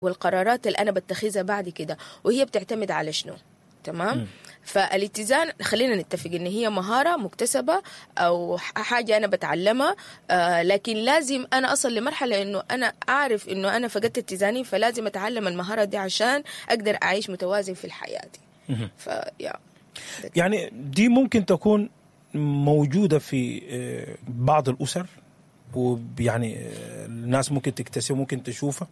والقرارات اللي أنا بتخذها بعد كده، وهي بتعتمد على شنو؟ تمام؟ فالاتزان خلينا نتفق ان هي مهارة مكتسبة او حاجة انا بتعلمها، لكن لازم انا اصل لمرحلة انه انا اعرف انه انا فقدت اتزاني، فلازم اتعلم المهارة دي عشان اقدر اعيش متوازن في الحياة دي. فيا يعني دي ممكن تكون موجودة في بعض الأسر، ويعني الناس ممكن تكتسب، ممكن تشوفها،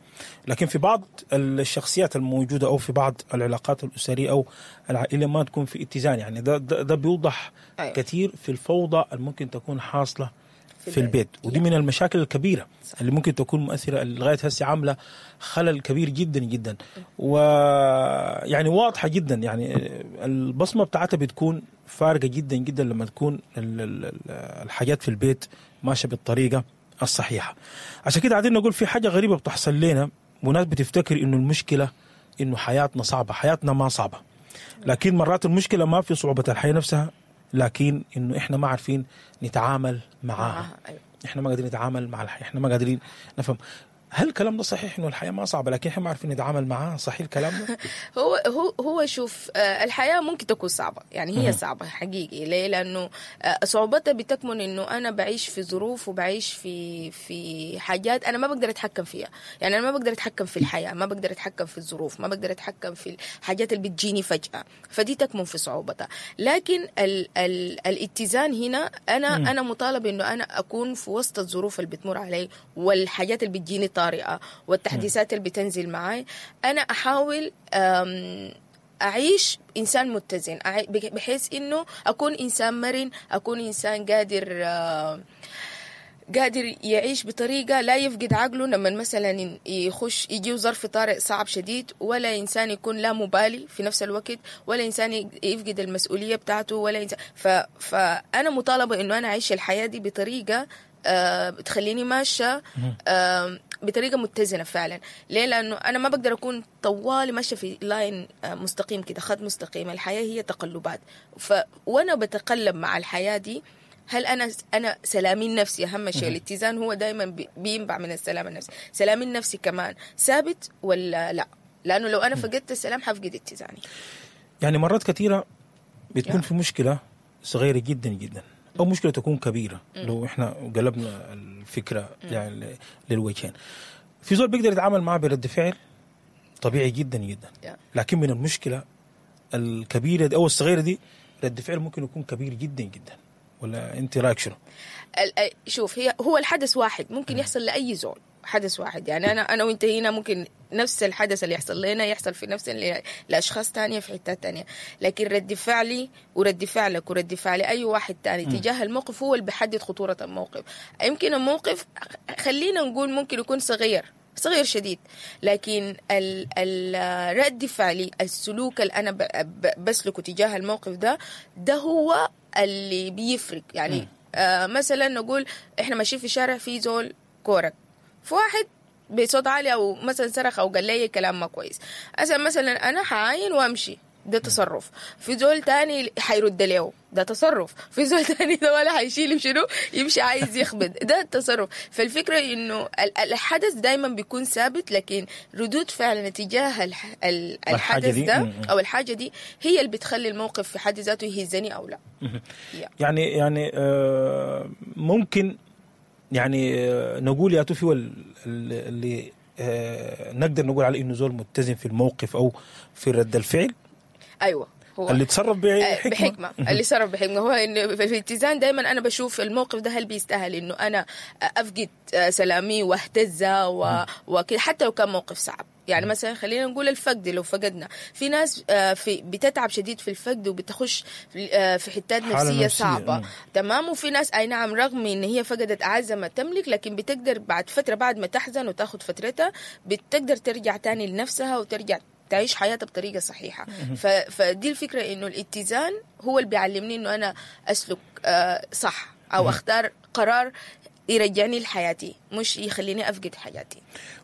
لكن في بعض الشخصيات الموجودة أو في بعض العلاقات الأسرية أو العائلة ما تكون في اتزان. يعني ده بيوضح كثير في الفوضى اللي ممكن تكون حاصلة في البيت، ودي من المشاكل الكبيرة اللي ممكن تكون مؤثرة لغاية هسه، عاملة خلل كبير جدا جدا، ويعني واضحة جدا، يعني البصمة بتاعتها بتكون فارقة جدا جدا لما تكون الحاجات في البيت ماشية بالطريقة الصحيحة. عشان كده قاعدين نقول في حاجة غريبة بتحصل لنا، وناس بتفتكر إنه المشكلة إنه حياتنا صعبة. حياتنا ما صعبة، لكن مرات المشكلة ما في صعوبة الحياة نفسها، لكن إنه إحنا ما عارفين نتعامل معاها. إحنا ما قادرين نتعامل مع الحياة، إحنا ما قادرين نفهم. هل الكلام ده صحيح إنه الحياة ما صعبة لكن إحنا ما عارفين نتعامل معاها؟ صحيح الكلام ده؟ هو شوف، الحياة ممكن تكون صعبة، يعني هي صعبة حقيقي. ليه؟ لأنه صعوبتها بتكمن إنه أنا بعيش في ظروف وبعيش في حاجات أنا ما بقدر أتحكم فيها. يعني أنا ما بقدر أتحكم في الحياة، ما بقدر أتحكم في الظروف، ما بقدر أتحكم في الحاجات اللي بتجيني فجأة، فدي تكمن في صعوبتها. لكن ال ال الاتزان هنا أنا مطالب إنه أنا أكون في وسط الظروف اللي بتمر علي والحاجات اللي بتجيني طارئة والتحديثات اللي بتنزل معاي، أنا أحاول أعيش إنسان متزن، بحيث إنه أكون إنسان مرن، أكون إنسان قادر يعيش بطريقة لا يفقد عقله لما مثلا يخش يجيه ظرف طارئ صعب شديد، ولا إنسان يكون لا مبالي في نفس الوقت، ولا إنسان يفقد المسؤولية بتاعته، ولا إنسان. فأنا مطالبة إنه أنا أعيش الحياة دي بطريقة بتخليني ماشية بطريقة متزنة فعلا. ليه؟ لأنه أنا ما بقدر أكون طوالي ماشية في line مستقيم كده، خط مستقيم. الحياة هي تقلبات، وأنا بتقلب مع الحياة دي. هل أنا سلامي النفسي أهم شيء؟ الاتزان هو دايما بينبع من السلام النفسي. سلامي النفسي كمان ثابت ولا لا؟ لأنه لو أنا فقدت السلام حفقد اتزاني. يعني مرات كثيرة بتكون في مشكلة صغيرة جدا جدا أو مشكلة تكون كبيرة، لو إحنا قلبنا الفكرة يعني للوجهين، في زول بيقدر يتعامل معه برد فعل طبيعي جدا جدا، لكن من المشكلة الكبيرة دي أو الصغيرة دي رد فعل ممكن يكون كبير جدا جدا. ولا أنت رأيك شنو؟ شوف، هو الحدث واحد ممكن يحصل لأي زول، حدث واحد. يعني أنا وأنت هنا ممكن نفس الحدث اللي يحصل لنا يحصل في نفس لأشخاص تانية في حتات تانية، لكن رد فعلي ورد فعلك ورد فعل أي واحد تاني تجاه الموقف هو اللي بيحدد خطورة الموقف. يمكن الموقف خلينا نقول ممكن يكون صغير شديد، لكن الرد فعلي، السلوك اللي أنا بسلكه تجاه الموقف ده هو اللي بيفرق. يعني مثلا نقول إحنا ماشيين في شارع في زول كورك، فواحد بصوت عالي او مثلا صرخ او قال لي كلام ما كويس، مثلا انا حعاين وامشي، ده تصرف. في زول تاني حيرد له، ده تصرف. في زول تاني ده ولا حيشيل شنو يمشي عايز يخبط، ده التصرف. فالفكرة انه الحدث دايما بيكون ثابت، لكن ردود فعلنا تجاه الحدث ده او الحاجة دي هي اللي بتخلي الموقف في حد ذاته يهزني او لا. يعني ممكن يعني نقول يا توفي اللي نقدر نقول عليه انه زول متزن في الموقف او في رد الفعل. ايوه، هو اللي تصرف بحكمه. اللي تصرف بحكمه هو انه في الاتزان دايما انا بشوف الموقف ده هل بيستاهل انه انا افقد سلامي واهتز وكده، حتى لو كان موقف صعب. يعني مثلا خلينا نقول الفقد، لو فقدنا في ناس في بتتعب شديد في الفقد وبتخش في حتات نفسية صعبة، تمام. وفي ناس أي نعم رغم إن هي فقدت أعز ما تملك، لكن بتقدر بعد فترة، بعد ما تحزن وتاخد فترتها، بتقدر ترجع تاني لنفسها وترجع تعيش حياتها بطريقة صحيحة. فدي الفكرة، إنه الاتزان هو اللي بيعلمني إنه أنا أسلك صح أو أختار قرار يرجعني لحياتي، مش يخليني أفقد حياتي.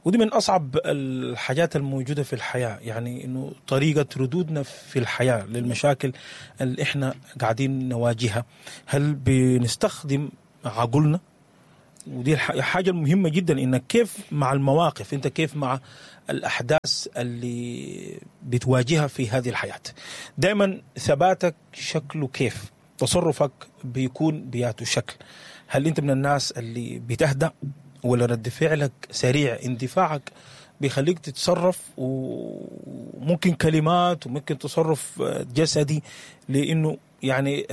ودي من أصعب الحاجات الموجودة في الحياة، يعني إنه طريقة ردودنا في الحياة للمشاكل اللي إحنا قاعدين نواجهها، هل بنستخدم عقلنا ودي الحاجة المهمة جدا، انك كيف مع المواقف، انت كيف مع الاحداث اللي بتواجهها في هذه الحياة. دائما ثباتك شكله كيف، تصرفك بيكون بياته شكل. هل انت من الناس اللي بتهدأ ولا رد فعلك سريع، اندفاعك بيخليك تتصرف، وممكن كلمات وممكن تصرف جسدي، لانه يعني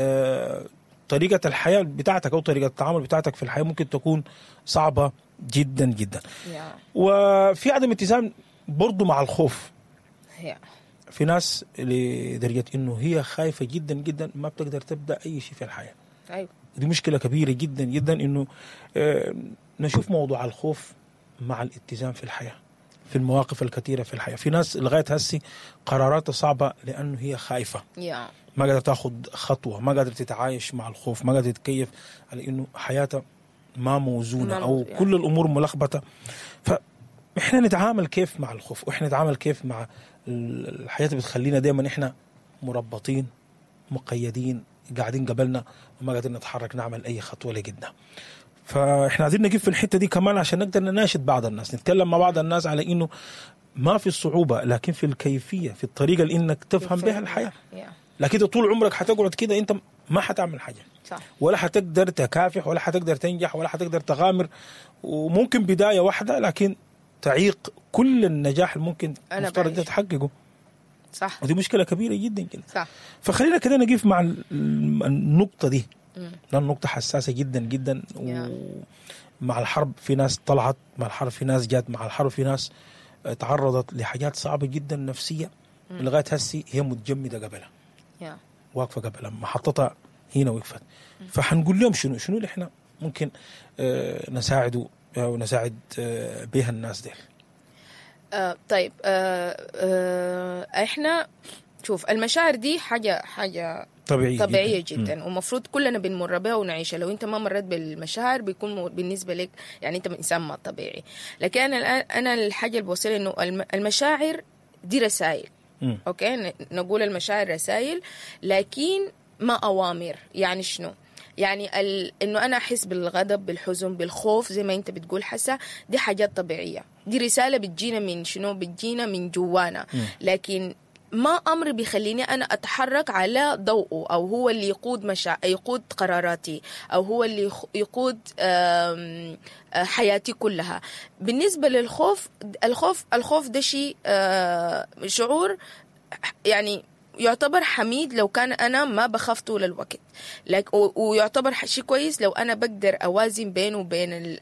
طريقة الحياة بتاعتك أو طريقة التعامل بتاعتك في الحياة ممكن تكون صعبة جدا جدا. وفي عدم اتزان برضو مع الخوف. في ناس لدرجة إنه هي خايفة جدا جدا ما بتقدر تبدأ أي شيء في الحياة. أيوة. دي مشكلة كبيرة جدا جدا، إنه نشوف موضوع الخوف مع الاتزان في الحياة، في المواقف الكثيرة في الحياة. في ناس لغاية هسي قراراتها صعبة لأنه هي خايفة. ما قادرة تاخذ خطوة، ما قادرة تتعايش مع الخوف، ما قادرة تتكيف على إنه حياتها ما موزونة أو كل الأمور ملخبطة. فإحنا نتعامل كيف مع الخوف، وإحنا نتعامل كيف مع الحياة اللي بتخلينا دايما إحنا مربطين مقيدين قاعدين قبلنا وما قادرين نتحرك نعمل أي خطوة لقدام. فإحنا عايزين نقف في الحتة دي كمان عشان نقدر نناشد بعض الناس، نتكلم مع بعض الناس على إنه ما في الصعوبة، لكن في الكيفية، في الطريقة اللي إنك تفهم بها الحياة. لكن طول عمرك حتقعد كده انت ما حتعمل حاجة، صح. ولا حتقدر تكافح، ولا حتقدر تنجح، ولا حتقدر تغامر. وممكن بداية واحدة لكن تعيق كل النجاح اللي ممكن مفترض تحققه. صح. ودي مشكلة كبيرة جدا جدا. صح. فخلينا كده نقف مع النقطة دي، لأن النقطة حساسة جدا جدا. ومع الحرب في ناس طلعت، مع الحرب في ناس جات، مع الحرب في ناس تعرضت لحاجات صعبة جدا نفسية لغاية هسي هي متجمدة قبلها، واقفة قبلها، محطتها هنا وقفت. فحنقول لهم شنو اللي احنا ممكن نساعده ونساعد بها الناس ديل. طيب، احنا شوف المشاعر دي حاجة طبيعية جدا، ومفروض كلنا بنمر بها ونعيشها. لو انت ما مريت بالمشاعر بيكون بالنسبة لك يعني انت انسان ما طبيعي. لكن انا الحاجة اللي بوصل انه المشاعر دي رسائل. okay، نقول المشاعر رسائل لكن ما اوامر. يعني شنو؟ يعني انه انا احس بالغضب، بالحزن، بالخوف زي ما انت بتقول حسا، دي حاجات طبيعية، دي رسالة بتجينا من شنو؟ بتجينا من جوانا. لكن ما امر بيخليني انا اتحرك على ضوءه، او هو اللي يقود يقود قراراتي، او هو اللي يقود حياتي كلها. بالنسبة للخوف، الخوف ده شيء، شعور يعني يعتبر حميد لو كان أنا ما بخاف طول الوقت، ويعتبر شيء كويس لو أنا بقدر أوازن بينه وبين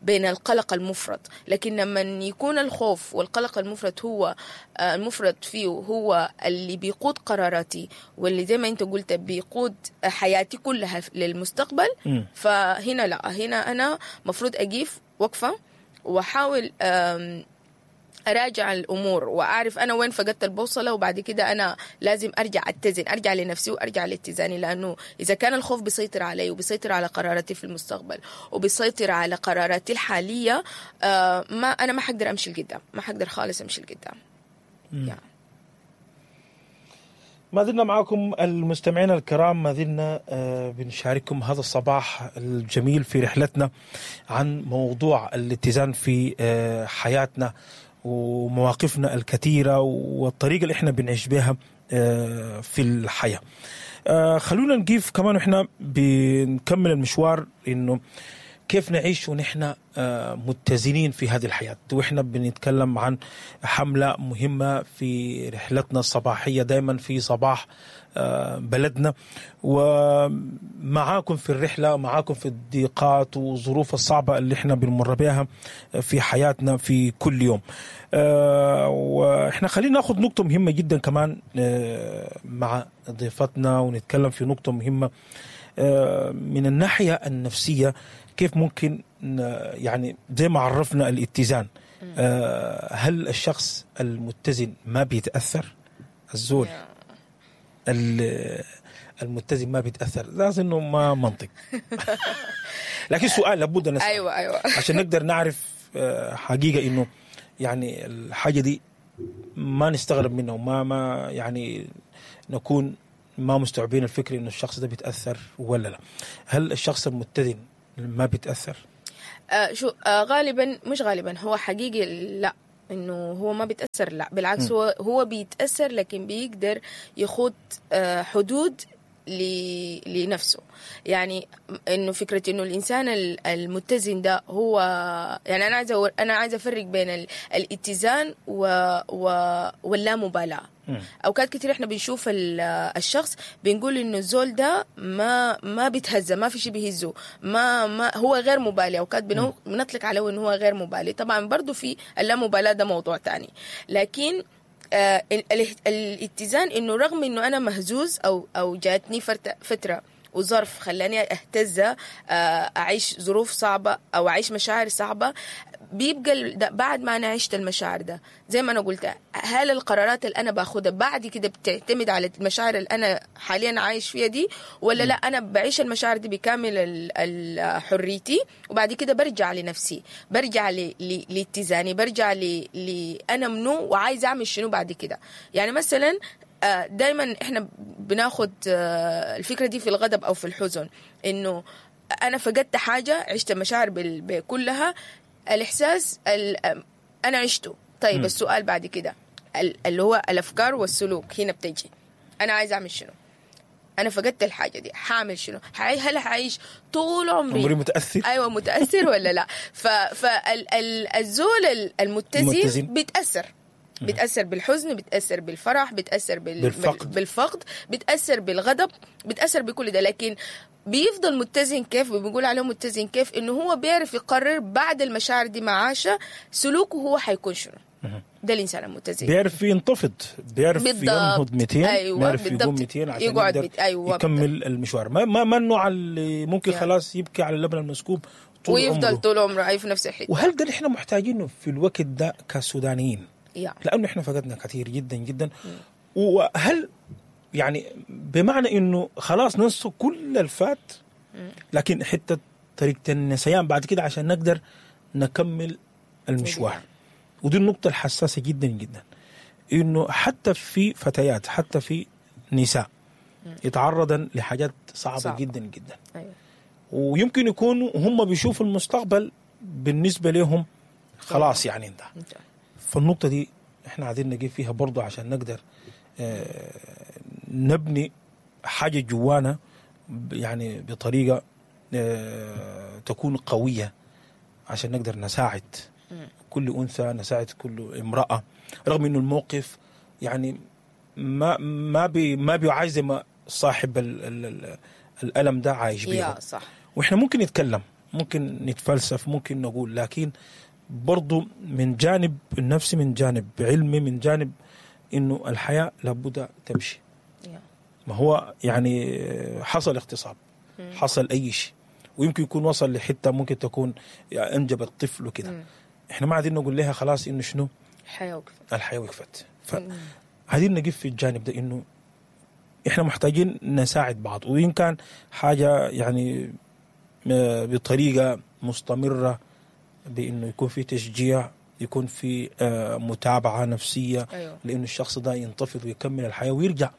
بين القلق المفرط. لكن لما يكون الخوف والقلق المفرط هو المفرط فيه هو اللي بيقود قراراتي، واللي زي ما أنت قلت بيقود حياتي كلها للمستقبل، فهنا لا، هنا أنا مفروض أقف وقفة وأحاول أراجع الأمور وأعرف أنا وين فقدت البوصلة، وبعد كده أنا لازم أرجع أتزن، أرجع لنفسي وأرجع لاتزاني. لأنه إذا كان الخوف بيسيطر علي وبيسيطر على قراراتي في المستقبل وبيسيطر على قراراتي الحالية، ما أنا ما حقدر أمشي لقدام، ما حقدر خالص أمشي لقدام. يعني. ما زلنا معكم المستمعين الكرام، ما زلنا بنشارككم هذا الصباح الجميل في رحلتنا عن موضوع الاتزان في حياتنا ومواقفنا الكثيرة والطريقة اللي احنا بنعيش بها في الحياة. خلونا نقف كمان واحنا بنكمل المشوار انه كيف نعيش ونحن متزنين في هذه الحياة. وإحنا بنتكلم عن حملة مهمة في رحلتنا الصباحية دايما في صباح بلدنا، ومعاكم في الرحلة، معاكم في الضيقات والظروف الصعبة اللي احنا بنمر بها في حياتنا في كل يوم. وإحنا خلينا ناخذ نقطة مهمة جدا كمان مع ضيفتنا، ونتكلم في نقطة مهمة من الناحية النفسية، كيف ممكن يعني زي ما عرفنا الاتزان، هل الشخص المتزن ما بيتأثر؟ الزول المتزن ما بيتأثر، لازم انه ما منطق. لكن سؤال لابد نسأل. ايوه عشان نقدر نعرف حقيقة انه يعني الحاجة دي ما نستغرب منها، وما ما يعني نكون ما مستوعبين الفكر انه الشخص ده بيتأثر ولا لا. هل الشخص المتزن ما بيتأثر؟ شو غالبا، مش غالبا، هو حقيقي لا، انه هو ما بيتاثر، لا بالعكس، هو بيتاثر، لكن بيقدر يخوض حدود لنفسه. يعني انه فكرة انه الانسان المتزن ده هو يعني انا عايزه افرق بين الاتزان واللامبالاه. اوقات كتير احنا بنشوف الشخص بنقول انه الزول ده ما بيتهز، ما في شيء بيهزه، ما هو غير مبالي. اوقات بنطلق عليه انه هو غير مبالي. طبعا برضو في اللامبالاة ده موضوع تاني، لكن الاتزان انه رغم انه انا مهزوز او جاتني فترة وظرف خلاني اهتز، اعيش ظروف صعبة او اعيش مشاعر صعبة، بيبقى بعد ما انا عشت المشاعر ده زي ما انا قلت، هل القرارات اللي انا باخدها بعد كده بتعتمد على المشاعر اللي انا حاليا عايش فيها دي ولا لا؟ انا بعيش المشاعر دي بكامل حريتي، وبعد كده برجع لنفسي، برجع لاتزاني، برجع انا منو وعايز اعمل شنو بعد كده. يعني مثلا دايما احنا بناخد الفكرة دي في الغضب او في الحزن، انه انا فقدت حاجة، عشت المشاعر بكلها، الاحساس انا عشته. طيب السؤال بعد كده اللي هو الافكار والسلوك هنا بتجي، انا عايز اعمل شنو؟ انا فقدت الحاجة دي، حاعمل شنو؟ هل حعيش طول عمري متاثر؟ ايوه متاثر ولا لا؟ فالزول المتزن بيتاثر، بتأثر بالحزن، بتأثر بالفرح، بتأثر بالفقد، بتأثر بالغضب، بتأثر بكل ده، لكن بيفضل متزن. كيف بنقول عليه متزن؟ كيف انه هو بيعرف يقرر بعد المشاعر دي معاشه سلوكه هو حيكون شنو. ده الانسان المتزن بيعرف ينتفض، بيعرف ينهض 200. أيوة، بيعرف يقوم 200 عشان يقدر أيوة يكمل المشوار. ما النوع اللي ممكن خلاص يبكي على اللبن المسكوب طول ويفضل عمره. طول عمره عايش في نفس الحتة. وهل ده اللي احنا محتاجينه في الوقت ده كسودانيين؟ لأنه إحنا فقدنا كثير جدا جدا. وهل يعني بمعنى إنه خلاص ننسى كل الفات، لكن حتى طريقة النسيان بعد كده عشان نقدر نكمل المشوار. ودي النقطة الحساسة جدا جدا، إنه حتى في فتيات، حتى في نساء يتعرضن لحاجات صعبة جدا جدا. أيوة. ويمكن يكونوا هم بيشوفوا المستقبل بالنسبة لهم خلاص يعني انت. فالنقطة دي احنا عايزين نجيب فيها برضو عشان نقدر نبني حاجة جوانا يعني بطريقة تكون قوية عشان نقدر نساعد كل أنثى، نساعد كل امرأة، رغم إنه الموقف يعني ما بيعايز زي ما صاحب الألم ده عايش بيه. صح. وإحنا ممكن نتكلم، ممكن نتفلسف، ممكن نقول، لكن برضو من جانب النفسي، من جانب علمي، من جانب إنه الحياة لابد تمشي. ما هو يعني حصل اغتصاب، حصل أي شيء، ويمكن يكون وصل لحتة ممكن تكون أنجبت طفل وكده. إحنا ما عايزين نقول لها خلاص إنه شنو الحياة وقفت، الحياة وقفت. فعايزين نقف في الجانب ده إنه إحنا محتاجين نساعد بعض، وإن كان حاجة يعني بطريقة مستمرة، بإنه يكون في تشجيع، يكون في متابعة نفسية. أيوة. لأنه الشخص ده ينتفض ويكمل الحياة ويرجع.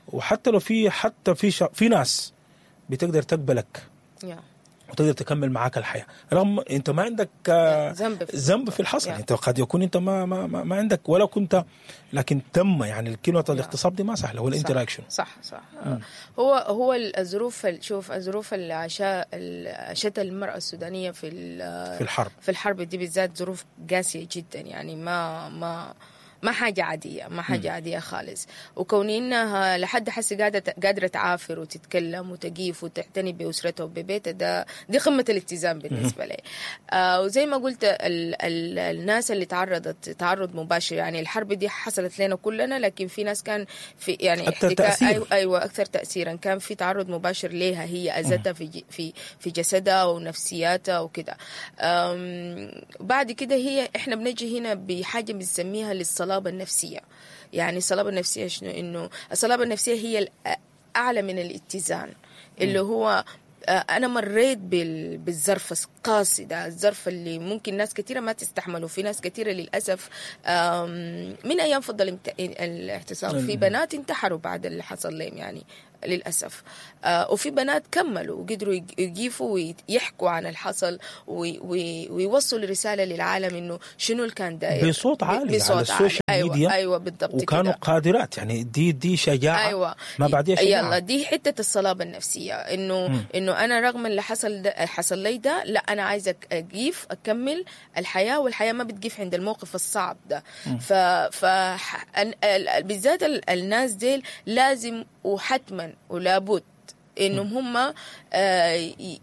وحتى لو في حتى في في ناس بتقدر تقبلك وتقدر تكمل معاك الحياة، رغم انت ما عندك ذنب في الحصل. انت قد يكون انت ما ما ما, ما عندك ولا كنت، لكن تم يعني الكلمة الاغتصاب دي ما سهلة. ولا انت رايك شنو؟ صح صح. هو الظروف، شوف الظروف اللي عاشتها المرأة السودانية في الحرب، في الحرب دي بالذات ظروف قاسية جدا، يعني ما حاجة عادية، ما حاجة عادية خالص. وكوني إنها لحد حس قادرة تعافر وتتكلم وتقيف وتعتني بأسرتها وببيتها، ده دي قمة الالتزام بالنسبة لي. وزي ما قلت الناس اللي تعرضت تعرض مباشر، يعني الحرب دي حصلت لنا كلنا، لكن في ناس كان في يعني أكثر تأثير. أيوة أكثر تأثيرا، كان في تعرض مباشر ليها، هي أذتها في في في جسدها ونفسياتها وكده. بعد كده هي إحنا بنجي هنا بحاجة بنسميها للصلاة النفسية. يعني الصلابة النفسية شنو؟ إنه الصلابة النفسية هي الأعلى من الاتزان، اللي هو أنا مريت بالظرف القاسي ده، الظرف اللي ممكن ناس كثيرة ما تستحمله. في ناس كثيرة للأسف من أيام فضل الاعتصام في بنات انتحروا بعد اللي حصل لهم، يعني للأسف. وفي بنات كملوا وقدروا يقيفوا ويحكوا عن الحصل ويوصلوا رسالة للعالم إنه شنو اللي كان داير بصوت عالي بصوت على ال social أيوة ميديا. أيوة بالضبط، وكانوا كده. قادرات يعني، دي شجاعة. أيوة. ما بعديها شجاعة. يلا دي حتة الصلابة النفسية، إنه إنه أنا رغم اللي حصل ده، حصل لي ده، لا أنا عايزة أقيف أكمل الحياة، والحياة ما بتقيف عند الموقف الصعب ده. ف بالذات الناس ديل لازم وحتما ولابد انهم هم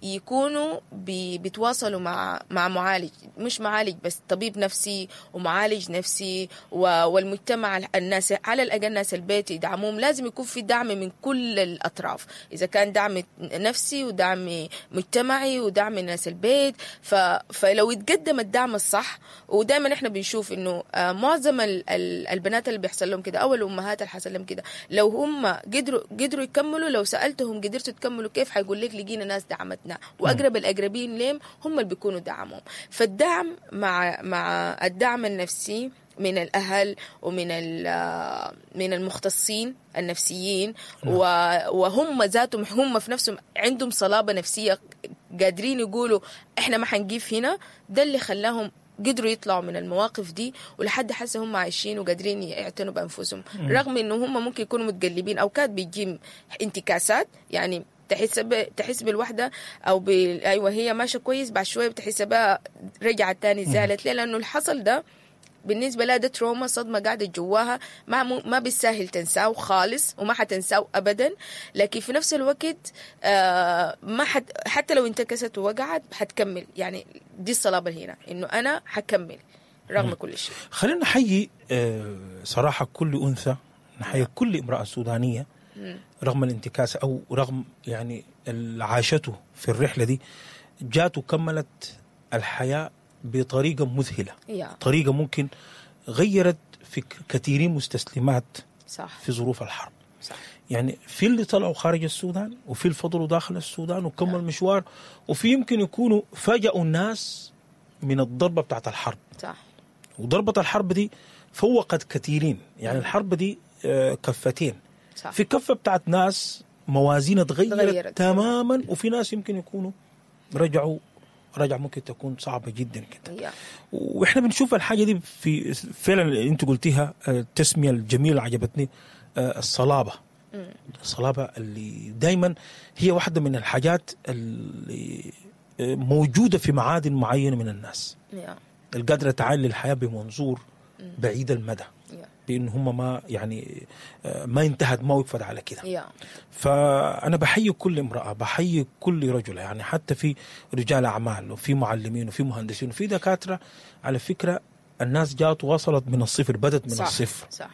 يكونوا بيتواصلوا مع معالج، مش معالج بس، طبيب نفسي ومعالج نفسي والمجتمع، الناس على الاقل ناس البيت يدعموهم. لازم يكون في دعم من كل الاطراف، اذا كان دعم نفسي ودعم مجتمعي ودعم ناس البيت. فلو يتقدم الدعم الصح، ودائما احنا بنشوف انه معظم البنات اللي بيحصل لهم كده او الامهات اللي حصل لهم كده، لو هم قدروا يكملوا، لو سالتهم قدرتوا تكملوا كيف، حيقول لك لقينا ناس دعمتنا، واقرب الاقربين لهم هم اللي بيكونوا دعمهم. فالدعم مع الدعم النفسي من الاهل ومن من المختصين النفسيين، وهم ذاتهم هم في نفسهم عندهم صلابة نفسية، قادرين يقولوا احنا ما حنقيف هنا. ده اللي خلاهم قدروا يطلعوا من المواقف دي، ولحد حاسه هم عايشين وقادرين يعتنوا بانفسهم، رغم انه هم ممكن يكونوا متقلبين. اوقات بيجي انتكاسات، يعني تحس بالوحدة او ايوه هي ماشية كويس، بعد شوية بتحس بها رجعت تاني زعلت. ليه؟ لانه الحصل ده بالنسبة لها ده تروما، صدمة قاعدة جواها، ما بالساهل تنساه خالص، وما حتنساه ابدا. لكن في نفس الوقت ما حتى لو انتكست ووقعت حتكمل. يعني دي الصلابة هنا، انه انا حكمل رغم كل شيء. خلينا نحيي صراحة كل انثى، نحيي كل امراة سودانيه رغم الانتكاسه او رغم يعني اللي عاشته في الرحلة دي، جات وكملت الحياة بطريقة مذهلة، طريقة ممكن غيرت في كثيرين مستسلمات. صح. في ظروف الحرب. صح. يعني في اللي طلعوا خارج السودان، وفي اللي فضلوا داخل السودان وكملوا المشوار، وفي يمكن يكونوا فاجأوا الناس من الضربة بتاعت الحرب. صح. وضربة الحرب دي فوقت كثيرين، يعني الحرب دي كفتين. صح. في كفة بتاعت ناس موازين تغيرت تماما، وفي ناس يمكن يكونوا رجع ممكن تكون صعبة جدا كده. وإحنا بنشوف الحاجة دي في فعلا اللي أنت قلتيها، التسمية الجميلة عجبتني، الصلابة. الصلابة اللي دايما هي واحدة من الحاجات اللي موجودة في معادن معينة من الناس، القادرة تعال للحياة بمنظور بعيد المدى، بأن هم ما يعني ما انتهت، ما وقفت على كده. فأنا بحيي كل امرأة، بحيي كل رجل، يعني حتى في رجال أعمال وفي معلمين وفي مهندسين وفي دكاترة. على فكرة الناس جات وصلت من الصفر، بدت من صح. الصفر. صح.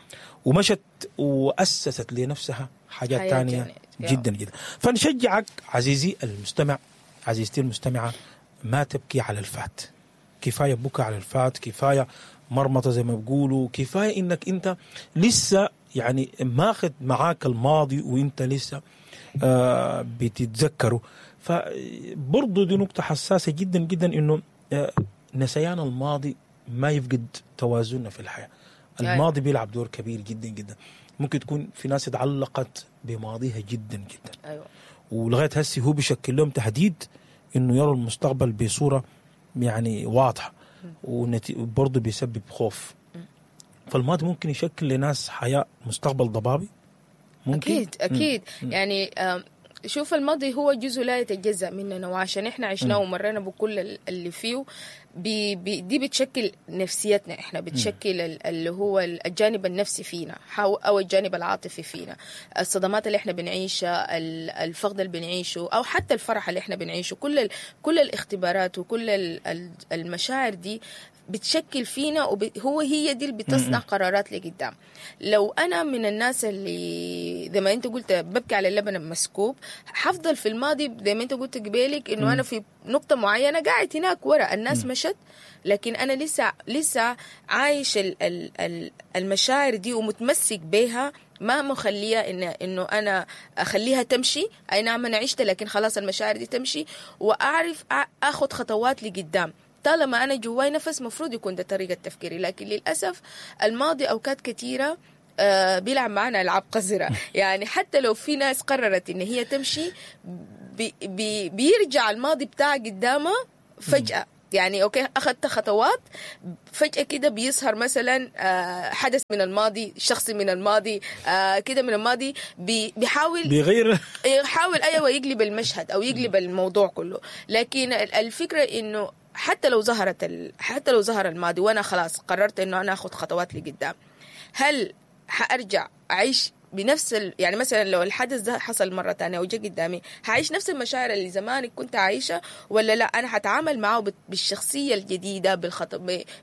ومشت وأسست لنفسها حاجات تانية جدا جدا. فنشجعك عزيزي المستمع، عزيزتي المستمعة، ما تبكي على الفات، كفاية بكى على الفات، كفاية مرمطة زي ما بيقولوا، كفاية انك انت لسه يعني ماخذ معاك الماضي وانت لسه بتتذكره. فبرضو دي نقطة حساسة جدا جدا، انه نسيان الماضي ما يفقد توازننا في الحياة. الماضي بيلعب دور كبير جدا جدا. ممكن تكون في ناس اتعلقت بماضيها جدا جدا. أيوة. ولغاية هسي هو بيشكل لهم تهديد انه يروا المستقبل بصورة يعني واضحة، وبرضه بيسبب خوف. فالماضي ممكن يشكل لناس حياة مستقبل ضبابي ممكن. أكيد أكيد. يعني شوف، الماضي هو جزء لا يتجزأ مننا، وعشان إحنا عشناه ومرنا بكل اللي فيه، بي بي دي بتشكل نفسيتنا، إحنا بتشكل اللي هو الجانب النفسي فينا أو الجانب العاطفي فينا، الصدمات اللي إحنا بنعيشها، الفقد اللي بنعيشه، أو حتى الفرح اللي إحنا بنعيشه، كل الاختبارات وكل المشاعر دي بتشكل فينا، وهو هي دي اللي بتصنع قرارات لقدام. لو أنا من الناس اللي زي ما أنت قلت ببكي على اللبن المسكوب، حفضل في الماضي زي ما أنت قلت قبالك إنه أنا في نقطة معينة قاعد هناك ورا الناس مشت، لكن أنا لسه عايش المشاعر دي ومتمسك بيها، ما مخليها إنه أنا أخليها تمشي. أي نعم أنا عشت، لكن خلاص المشاعر دي تمشي، وأعرف أخذ خطوات لقدام. طالما أنا جواي نفس مفروض يكون ده طريقة تفكيري، لكن للأسف الماضي أوقات كثيرة بيلعب معنا العاب قذرة. يعني حتى لو في ناس قررت ان هي تمشي، بي بي بيرجع الماضي بتاعها قدامها فجاة. يعني okay، اخذت خطوات، فجاة كده بيظهر مثلا حدث من الماضي، شخص من الماضي، كده من الماضي، بيحاول بيغير، يحاول، ايوه، يقلب المشهد او يقلب الموضوع كله. لكن الفكرة انه حتى لو ظهر الماضي وانا خلاص قررت انه انا اخذ خطوات لقدام، هل حارجع اعيش بنفس يعني مثلا لو الحدث ده حصل مرة تانية وجا قدامي، هعيش نفس المشاعر اللي زمان كنت عايشة ولا لا؟ أنا هتعامل معه بالشخصية الجديدة،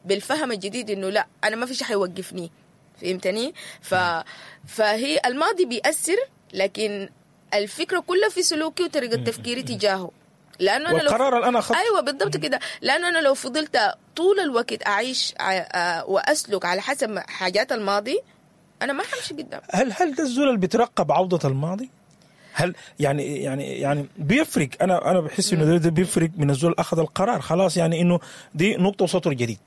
بالفهم الجديد، إنه لا، أنا ما في شيء حيوقفني. فهمتني؟ فهي الماضي بيأثر، لكن الفكرة كلها في سلوكي وطريقة تفكيري تجاهه، لانه انا لو والقرار اللي انا اخذته. ايوه، بالضبط كده، لانه انا لو فضلت طول الوقت اعيش واسلك على حسب حاجات الماضي، انا ما حمشي قدام. هل ده الزول اللي بيترقب عودة الماضي؟ هل يعني بيفرق؟ انا بحس انه ده بيفرق من الزول اخذ القرار خلاص، يعني انه دي نقطة وسطر جديد.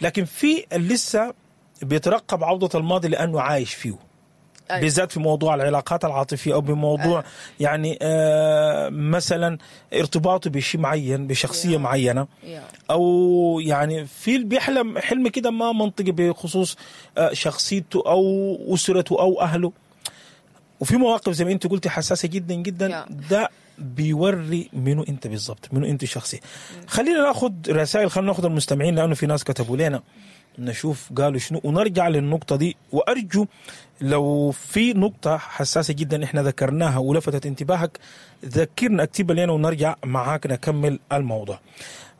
لكن في اللي لسه بيترقب عودة الماضي لانه عايش فيه. بالذات في موضوع العلاقات العاطفية أو بموضوع يعني مثلا ارتباطه بشيء معين، بشخصية معينة، أو يعني في اللي بيحلم حلم كده ما منطقي بخصوص شخصيته أو أسرته أو أهله، وفي مواقف زي ما انت قلتي حساسة جدا جدا. ده بيوري منو انت بالضبط، منو انت شخصي. خلينا ناخذ رسائل، خلينا ناخذ المستمعين، لانه في ناس كتبوا لنا، نشوف قالوا شنو ونرجع للنقطة دي. وأرجو لو في نقطة حساسة جدا احنا ذكرناها ولفتت انتباهك، ذكرنا، اكتبها لنا ونرجع معاك نكمل الموضوع.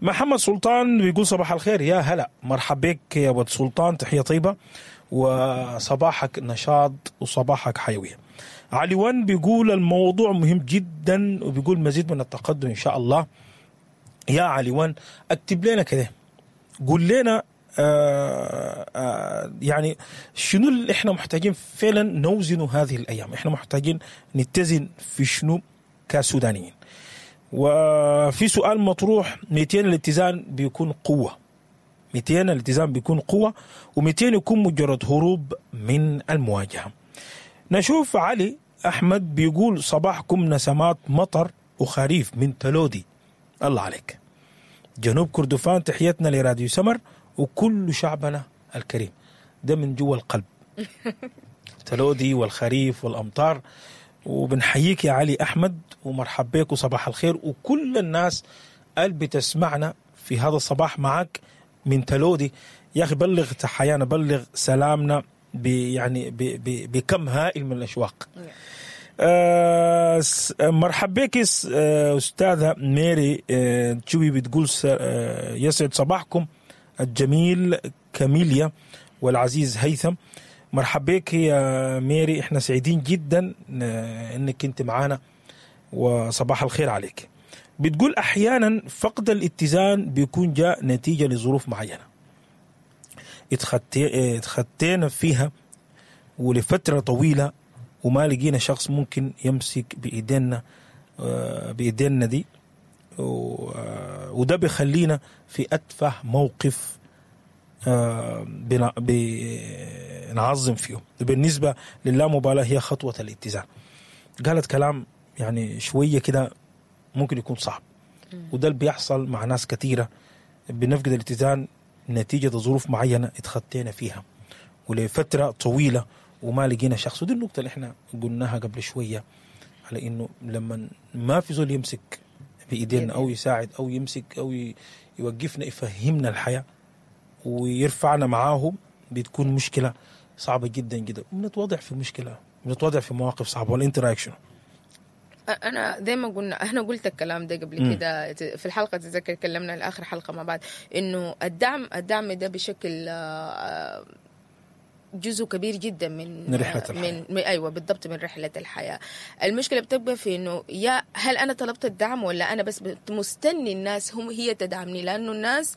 محمد سلطان بيقول صباح الخير. يا هلا، مرحبا بك يا ود سلطان، تحية طيبة وصباحك نشاط وصباحك حيوية. علي بيقول الموضوع مهم جدا، وبيقول مزيد من التقدم إن شاء الله. يا علي، اكتب لنا كده، قول لنا يعني شنو اللي احنا محتاجين فعلا نوزنه هذه الايام؟ احنا محتاجين نتزن في شنو كسودانيين؟ وفي سؤال مطروح: 200 الاتزان بيكون قوة؟ 200 الاتزان بيكون قوة و200 يكون مجرد هروب من المواجهة؟ نشوف علي أحمد بيقول صباحكم نسمات مطر وخريف من تلودي، الله عليك، جنوب كردفان. تحياتنا لراديو سمر وكل شعبنا الكريم. ده من جوا القلب، تلودي والخريف والأمطار. وبنحييك يا علي أحمد ومرحب بك وصباح الخير، وكل الناس اللي بتسمعنا في هذا الصباح معك من تلودي. يا أخي بلغ تحيانا، بلغ سلامنا يعني بكم هائل من الأشواق. مرحب بك أستاذة ميري تشوي، بتقول يسعد صباحكم الجميل كاميليا والعزيز هيثم. مرحب بك يا ميري، احنا سعيدين جدا انك انت معانا وصباح الخير عليك. بتقول احيانا فقد الاتزان بيكون جاء نتيجة لظروف معينة اتخطينا فيها ولفترة طويلة وما لقينا شخص ممكن يمسك بايدينا دي، وده بيخلينا في اتفه موقف بنعظم فيه. بالنسبة للامبالاة هي خطوة الاتزان. قالت كلام يعني شوية كده ممكن يكون صعب، وده اللي بيحصل مع ناس كثيرة، بنفقد الاتزان نتيجة ظروف معينة اتخطينا فيها ولفترة طويلة وما لقينا شخص. ودي النقطة اللي احنا قلناها قبل شوية، على انه لما ما في زول يمسك بايدينا او يساعد او يمسك او يوقفنا، يفهمنا الحياة ويرفعنا معاه، بتكون مشكلة صعبة جدا جدا، بنتوضع في مشكلة، بنتوضع في مواقف صعبة. ولا انت رايك شنو؟ انا زي ما قلنا، انا قلت الكلام ده قبل كده في الحلقه، تذكر كلمنا الاخر حلقة مع بعض، انه الدعم ده بشكل جزء كبير جدا من من رحلة الحياة. من ايوه بالضبط، من رحله الحياه. المشكلة بتبقى في انه يا هل انا طلبت الدعم ولا انا بس مستني الناس هم هي تدعمني؟ لانه الناس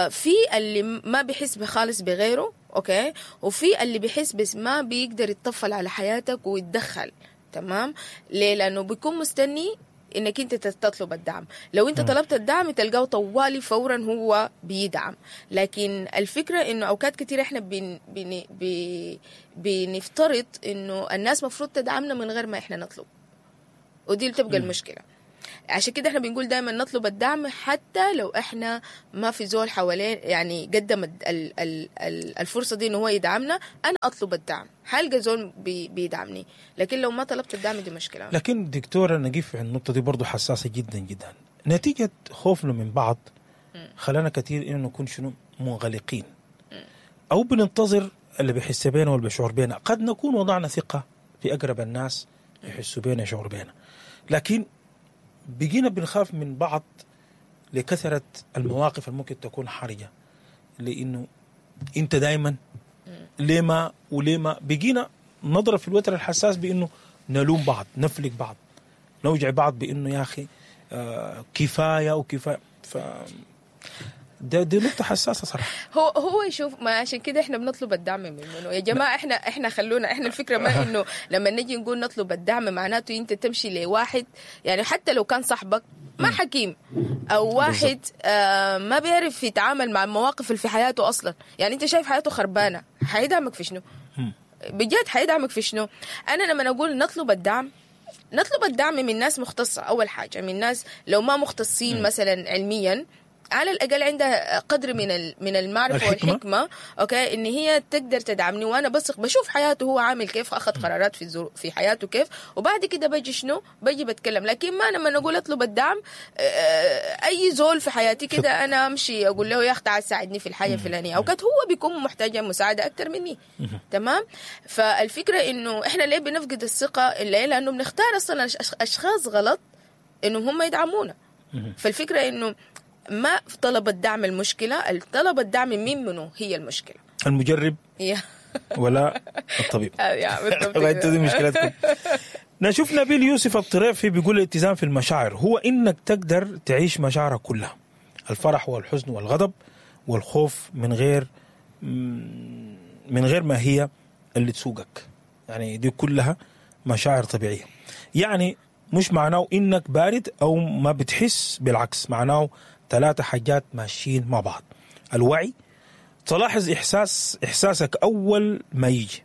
في اللي ما بيحس بخالص بغيره، okay، وفي اللي بيحس بس ما بيقدر يتطفل على حياتك ويتدخل، تمام؟ ليه؟ لانه بيكون مستني انك انت تطلب الدعم. لو انت طلبت الدعم تلقاه طوالي فورا هو بيدعم. لكن الفكرة انه اوقات كتير احنا بن بن بي بنفترض انه الناس مفروض تدعمنا من غير ما احنا نطلب، ودي اللي بتبقى المشكلة. عشان كده احنا بنقول دايما نطلب الدعم حتى لو احنا ما في زول حوالين يعني قدم الفرصة دي انه هو يدعمنا. انا اطلب الدعم حلقة زول بيدعمني، لكن لو ما طلبت الدعم دي مشكلة. لكن دكتورة نقف عند النقطة دي برضو حساسة جدا جدا. نتيجة خوفنا من بعض خلانا كثير انه نكون شنو منغلقين، او بننتظر اللي بيحس بينا واللي بيشعر بينا. قد نكون وضعنا ثقة في اقرب الناس يحسوا بينا يشعر بينا، لكن بقينا بنخاف من بعض لكثرة المواقف اللي ممكن تكون حرجة، لأنه أنت دايما ليه ما وليه ما. بقينا نضرب في الوتر الحساس بأنه نلوم بعض، نفلق بعض، نوجع بعض بأنه يا أخي كفاية وكفاية. ف دي نقطة حساسة صراحة. هو يشوف، ما عشان كده احنا بنطلب الدعم منه يا جماعة. احنا خلونا احنا الفكرة ما انه لما نجي نقول نطلب الدعم معناته انت تمشي لواحد، يعني حتى لو كان صاحبك ما حكيم او واحد ما بيعرف يتعامل مع المواقف اللي في حياته اصلا، يعني انت شايف حياته خربانة، حيدعمك في شنو؟ بجد حيدعمك في شنو؟ انا لما اقول نطلب الدعم، نطلب الدعم من ناس مختصة اول حاجة، من ناس لو ما مختصين مثلا علميا على الأقل عندها قدر من المعرفة والحكمة، okay، إن هي تقدر تدعمني، وأنا بثق بشوف حياته هو عامل كيف، أخذ قرارات في حياته كيف، وبعد كده بجي شنو بجي بتكلم. لكن ما لما نقول أطلب الدعم أي زول في حياتي كده أنا أمشي أقول له يا أخي تعال ساعدني في الحاجة الفلانية، أوقات هو بيكون محتاج مساعدة أكتر مني. تمام. فالفكرة إنه إحنا ليه بنفقد الثقة؟ لأنه بنختار أصلا أشخاص غلط إنهم هم يدعمونا. فالفكرة إنه ما طلب الدعم المشكلة، طلب الدعم مين منه هي المشكلة، المجرب ولا الطبيب. دي مشكلتكم. نشوف نبيل يوسف الطريفي بيقول الاتزان في المشاعر هو إنك تقدر تعيش مشاعرك كلها، الفرح والحزن والغضب والخوف، من غير ما هي اللي تسوقك. يعني دي كلها مشاعر طبيعية. يعني مش معناه إنك بارد أو ما بتحس، بالعكس معناه 3 حاجات ماشيين مع بعض. الوعي، تلاحظ إحساسك أول ما يجي،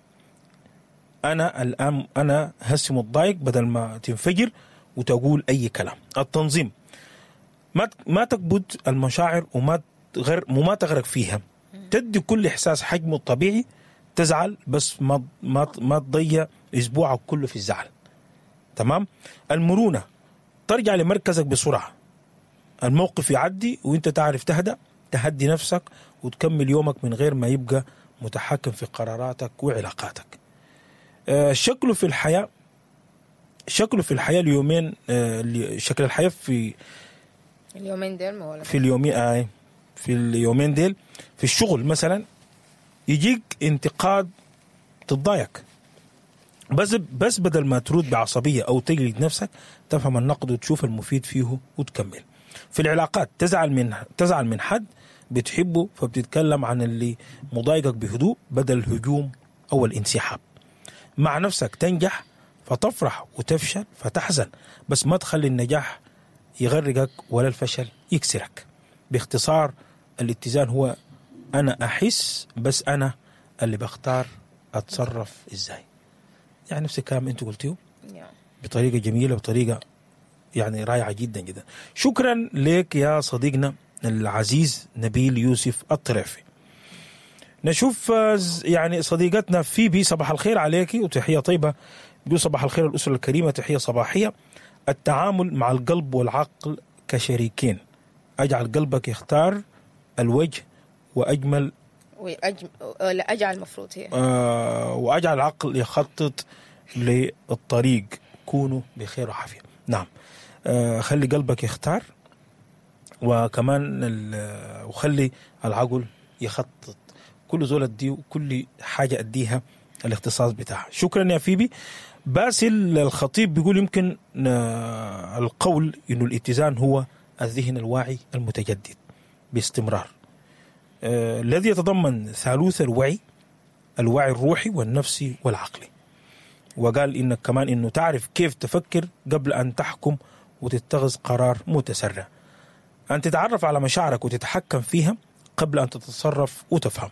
أنا الآن أنا هسي متضايق، بدل ما تنفجر وتقول أي كلام. التنظيم، ما تكبت المشاعر وما تغرق فيها، تدي كل إحساس حجمه الطبيعي. تزعل بس ما ما ما تضيع أسبوعك كله في الزعل. تمام. المرونة، ترجع لمركزك بسرعة، الموقف يعدي وانت تعرف تهدأ، تهدي نفسك وتكمل يومك من غير ما يبقى متحكم في قراراتك وعلاقاتك. شكله في الحياة، شكله في الحياة اليومين، شكل الحياة في اليومين ديل، ما ولا في اليومين، في اليومين ديل في الشغل مثلا يجيك انتقاد تتضايق، بس بدل ما ترد بعصبية أو تجلد نفسك، تفهم النقد وتشوف المفيد فيه وتكمل. في العلاقات، تزعل من حد بتحبه، فبتتكلم عن اللي مضايقك بهدوء بدل الهجوم أو الانسحاب. مع نفسك تنجح فتفرح وتفشل فتحزن، بس ما تخلي النجاح يغرقك ولا الفشل يكسرك. باختصار الاتزان هو أنا أحس، بس أنا اللي بختار أتصرف إزاي. يعني نفس الكلام أنت قلتيه بطريقة جميلة، بطريقة يعني رائعة جدا جدا. شكرا لك يا صديقنا العزيز نبيل يوسف الطريفي. نشوف يعني صديقتنا فيبي، صباح الخير عليك وتحية طيبة. بيقول صباح الخير الأسرة الكريمة، تحية صباحية. التعامل مع القلب والعقل كشريكين، أجعل قلبك يختار الوجه وأجمل أجعل المفروض هي وأجعل العقل يخطط للطريق. كونوا بخير وعافية. نعم، خلي قلبك يختار، وكمان وخلي العقل يخطط. كل زول أديه وكل حاجة أديها الاختصاص بتاعها. شكرا يا فيبي. باسل الخطيب بيقول يمكن القول إنه الاتزان هو الذهن الواعي المتجدد باستمرار، الذي يتضمن ثالوث الوعي، الوعي الروحي والنفسي والعقلي. وقال إنك كمان إنه تعرف كيف تفكر قبل أن تحكم وتتخذ قرار متسرع. أن تتعرف على مشاعرك وتتحكم فيها قبل أن تتصرف وتفهم.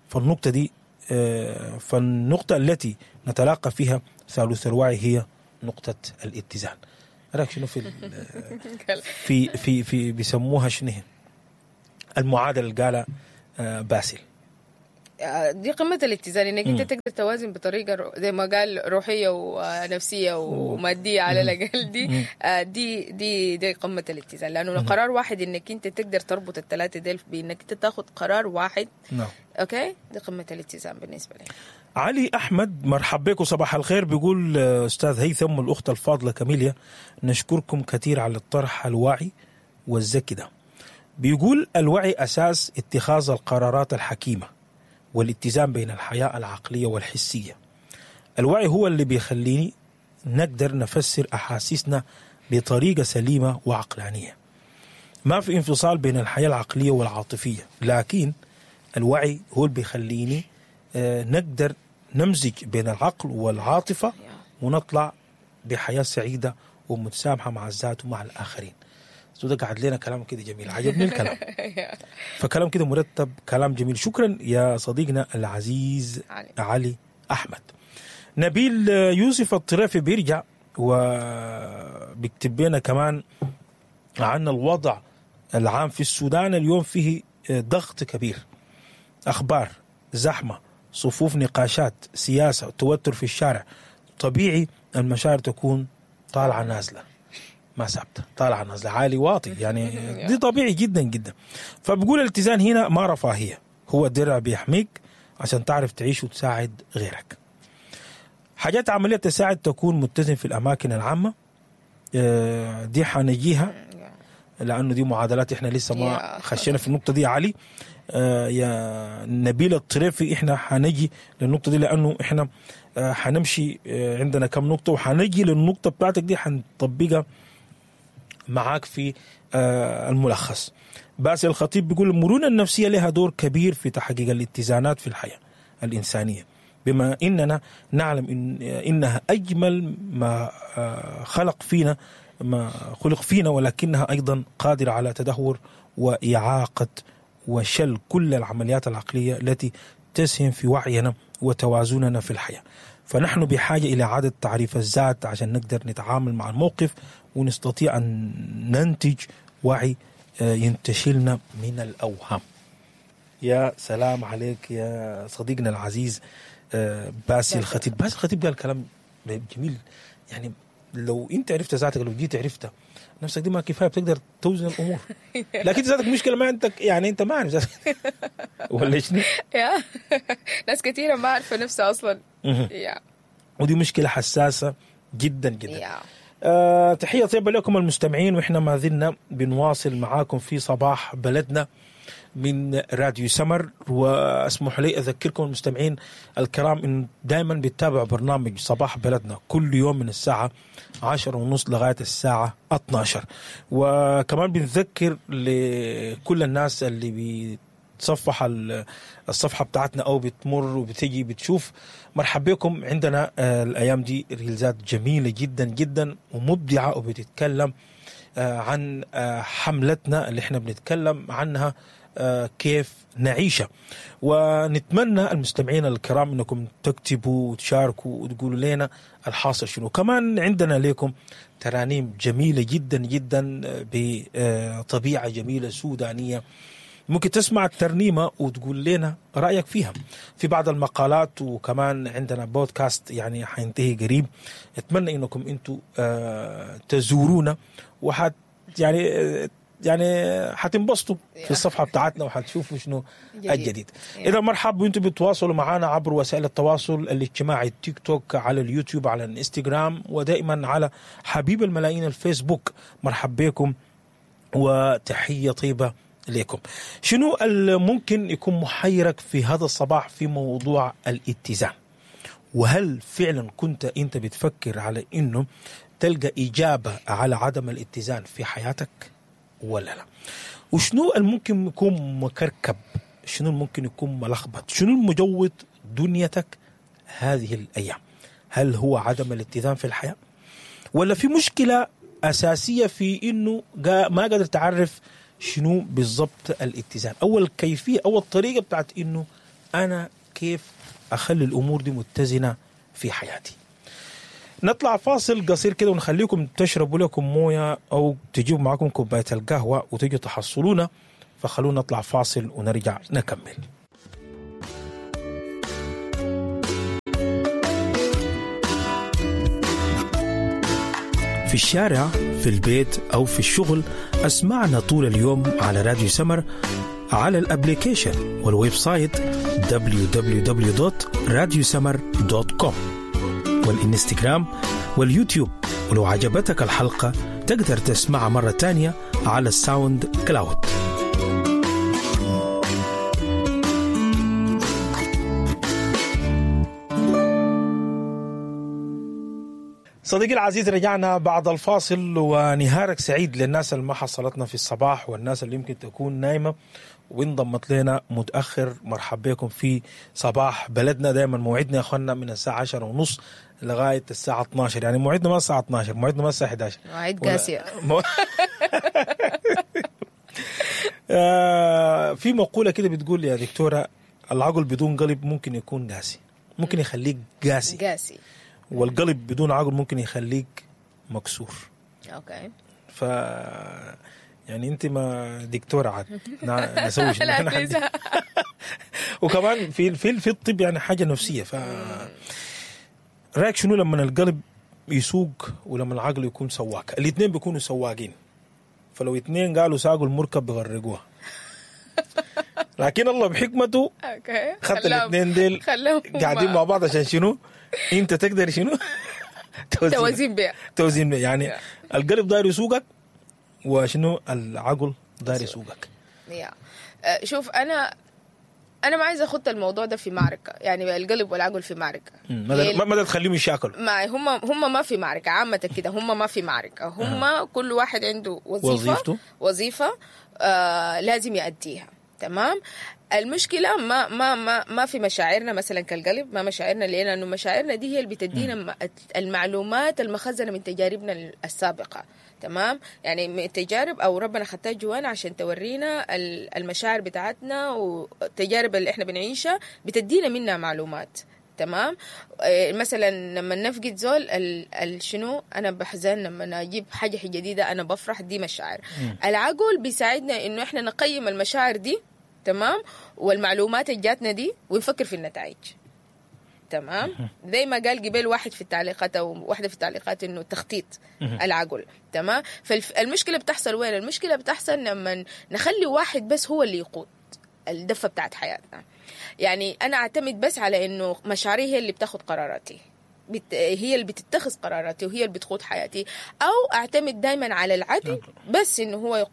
فالنقطة دي فالنقطة التي نتلاقى فيها ثالوث الوعي هي نقطة الاتزان. رأيك شنو في في في في بيسموها شنو هي؟ المعادلة اللي قالها باسل. دي قمة الاتزان، انك انت تقدر توازن بطريقة زي ما قال روحية ونفسية ومادية على الاقل. دي دي دي دي قمة الاتزان، لانه قرار واحد انك انت تقدر تربط الثلاثة ديل بانك انت تاخذ قرار واحد. نعم. okay، دي قمة الاتزان بالنسبة لي. علي احمد، مرحب بك وصباح الخير. بيقول استاذ هيثم والاخت الفاضلة كاميليا، نشكركم كثير على الطرح الواعي والذكي ده. بيقول الوعي اساس اتخاذ القرارات الحكيمة والاتزان بين الحياة العقلية والحسيه. الوعي هو اللي بيخليني نقدر نفسر احاسيسنا بطريقة سليمة وعقلانيه. ما في انفصال بين الحياة العقلية والعاطفيه، لكن الوعي هو اللي بيخليني نقدر نمزج بين العقل والعاطفة ونطلع بحياة سعيدة ومتسامحة مع الذات ومع الآخرين. ده قعد لنا كلام كده جميل، عجبني الكلام. فكلام كده مرتب، كلام جميل. شكرا يا صديقنا العزيز علي أحمد. نبيل يوسف الطريفي بيرجع وبيكتب لنا كمان عن الوضع العام في السودان اليوم، فيه ضغط كبير، أخبار، زحمة، صفوف، نقاشات، سياسة، توتر في الشارع. طبيعي المشاعر تكون طالعة نازلة، ما ثابتة، طالعة نازلة، عالي واطي، يعني دي طبيعي جدا جدا. فبقول الاتزان هنا ما رفاهية، هو درع بيحميك عشان تعرف تعيش وتساعد غيرك. حاجات عملية تساعد تكون متزن في الأماكن العامة، دي حنجيها لأنه دي معادلات إحنا لسه ما خشينا في النقطة دي يا علي. يا نبيل الطريفي إحنا حنجي للنقطة دي، لأنه إحنا حنمشي عندنا كم نقطة وحنجي للنقطة بتاعتك دي حنطبقها معاك في الملخص. باسل الخطيب بيقول المرونة النفسية لها دور كبير في تحقيق الاتزانات في الحياة الإنسانية، بما إننا نعلم إنها أجمل ما خلق فينا، ما خلق فينا، ولكنها أيضا قادرة على تدهور وإعاقة وشل كل العمليات العقلية التي تسهم في وعينا وتوازننا في الحياة. فنحن بحاجة إلى إعادة تعريف الذات عشان نقدر نتعامل مع الموقف ونستطيع أن ننتج وعي ينتشلنا من الأوهام. يا سلام عليك يا صديقنا العزيز باسل الخطيب. باسل الخطيب قال كلام جميل، يعني لو انت عرفت ذاتك، لو جيت عرفتها نفسك دي ما كفاية بتقدر توزن الامور، لكن ذاتك مشكلة ما عندك، يعني انت ما عارف ذاتك ولا شنو؟ يا ناس كثيرة ما عارفه نفسها اصلا. ودي مشكلة حساسة جدا جدا. تحية طيبة لكم المستمعين، واحنا ما زلنا بنواصل معاكم في صباح بلدنا من راديو سمر. واسمح لي اذكركم المستمعين الكرام ان دائما بتتابعوا برنامج صباح بلدنا كل يوم من الساعة 10:30 لغاية الساعة 12. وكمان بنذكر لكل الناس اللي بتصفح الصفحة بتاعتنا او بتمر وبتجي بتشوف، مرحبا بكم. عندنا الايام دي ريلزات جميلة جدا جدا ومبدعه، وبتتكلم عن حملتنا اللي احنا بنتكلم عنها كيف نعيشها. ونتمنى المستمعين الكرام انكم تكتبوا وتشاركوا وتقولوا لنا الحاصل شنو. كمان عندنا لكم ترانيم جميلة جدا جدا بطبيعة جميلة سودانية، ممكن تسمع الترنيمة وتقول لنا رأيك فيها في بعض المقالات. وكمان عندنا بودكاست يعني حينتهي قريب، اتمنى انكم انتم تزورونا وحت يعني حتنبسطوا في الصفحة بتاعتنا وحتشوفوا شنو الجديد. إذا مرحب، وانتم بتواصلوا معنا عبر وسائل التواصل الاجتماعي، التيك توك، على اليوتيوب، على الانستغرام، ودائما على حبيب الملايين الفيسبوك. مرحب بكم وتحية طيبة لكم. شنو ممكن يكون محيرك في هذا الصباح في موضوع الاتزان؟ وهل فعلا كنت انت بتفكر على انه تلقى إجابة على عدم الاتزان في حياتك ولا لا؟ وشنو الممكن يكون مكركب؟ شنو الممكن يكون ملخبط؟ شنو المجوط دنيتك هذه الأيام؟ هل هو عدم الاتزان في الحياة، ولا في مشكلة اساسية في انه ما قادر تعرف شنو بالضبط الاتزان او الكيفية او الطريقة بتاعت انه انا كيف اخلي الامور دي متزنة في حياتي. نطلع فاصل قصير كده ونخليكم تشربوا لكم مويه او تجيبوا معاكم كوباية القهوة وتجوا تحصلونا، فخلونا نطلع فاصل ونرجع نكمل. في الشارع، في البيت أو في الشغل، أسمعنا طول اليوم على راديو سمر، على ال application وال website www.radiosummer.com والإنستغرام واليوتيوب. ولو عجبتك الحلقة تقدر تسمعها مرة تانية على ال SoundCloud. صديقي العزيز، رجعنا بعد الفاصل، ونهارك سعيد للناس اللي ما حصلتنا في الصباح والناس اللي يمكن تكون نايمة وانضمت لنا متأخر. مرحب بكم في صباح بلدنا. دائما موعدنا يا اخوانا من الساعة 10:30 لغاية الساعة 12، يعني موعدنا ما الساعة 12، موعدنا ما الساعة 11. مواعيد قاسية. في مقولة كده بتقول يا دكتورة، العقل بدون قلب ممكن يكون قاسي، ممكن يخليك قاسي قاسي، والقلب بدون عقل ممكن يخليك مكسور. okay. ف يعني انت ما دكتورة عاد نسوي شنو؟ وكمان في في في الطب يعني حاجة نفسية. ف رايك شنو لما القلب يسوق ولما العقل يكون سواق؟ الاثنين بيكونوا سواقين، فلو اثنين قالوا ساقوا المركب بيغرقوها. لكن الله بحكمته خدت الاثنين ديل قاعدين مع بعض عشان شنو؟ انت تقدر شنو؟ توازين بيها، توازين بيها. يعني القلب داير يسوقك وشنو العقل داير يسوقك. شوف، انا ما عايزه اخد الموضوع ده في معركة، يعني القلب والعقل في معركة. ما تخليهم يشاكلوا. ما هم ما في معركة عامة كده، هم ما في معركة، هم كل واحد عنده وظيفة، وظيفة لازم يأديها. تمام. المشكلة ما ما ما ما في مشاعرنا مثلا كالقلب، ما مشاعرنا، لأنه مشاعرنا دي هي اللي بتدينا المعلومات المخزنه من تجاربنا السابقة. تمام. يعني من تجارب او ربنا خدتها جوانا عشان تورينا المشاعر بتاعتنا والتجارب اللي احنا بنعيشها، بتدينا منها معلومات. تمام. مثلا لما نفقد زول شنو انا بحزن، لما اجيب حاجة جديدة انا بفرح، دي مشاعر. العقل بيساعدنا انه احنا نقيم المشاعر دي، تمام، والمعلومات اللي جاتنا دي، ونفكر في النتائج. تمام. زي ما قال قبل واحد في التعليقات او واحدة في التعليقات انه تخطيط العقل. تمام. فالمشكلة بتحصل وين؟ المشكلة بتحصل لما نخلي واحد بس هو اللي يقود الدفة بتاعت حياتنا. يعني انا اعتمد بس على انه مشاعري هي اللي بتاخد قراراتي، هي اللي بتتخذ قراراتي وهي اللي بتقود حياتي، او اعتمد دائما على العقل بس انه هو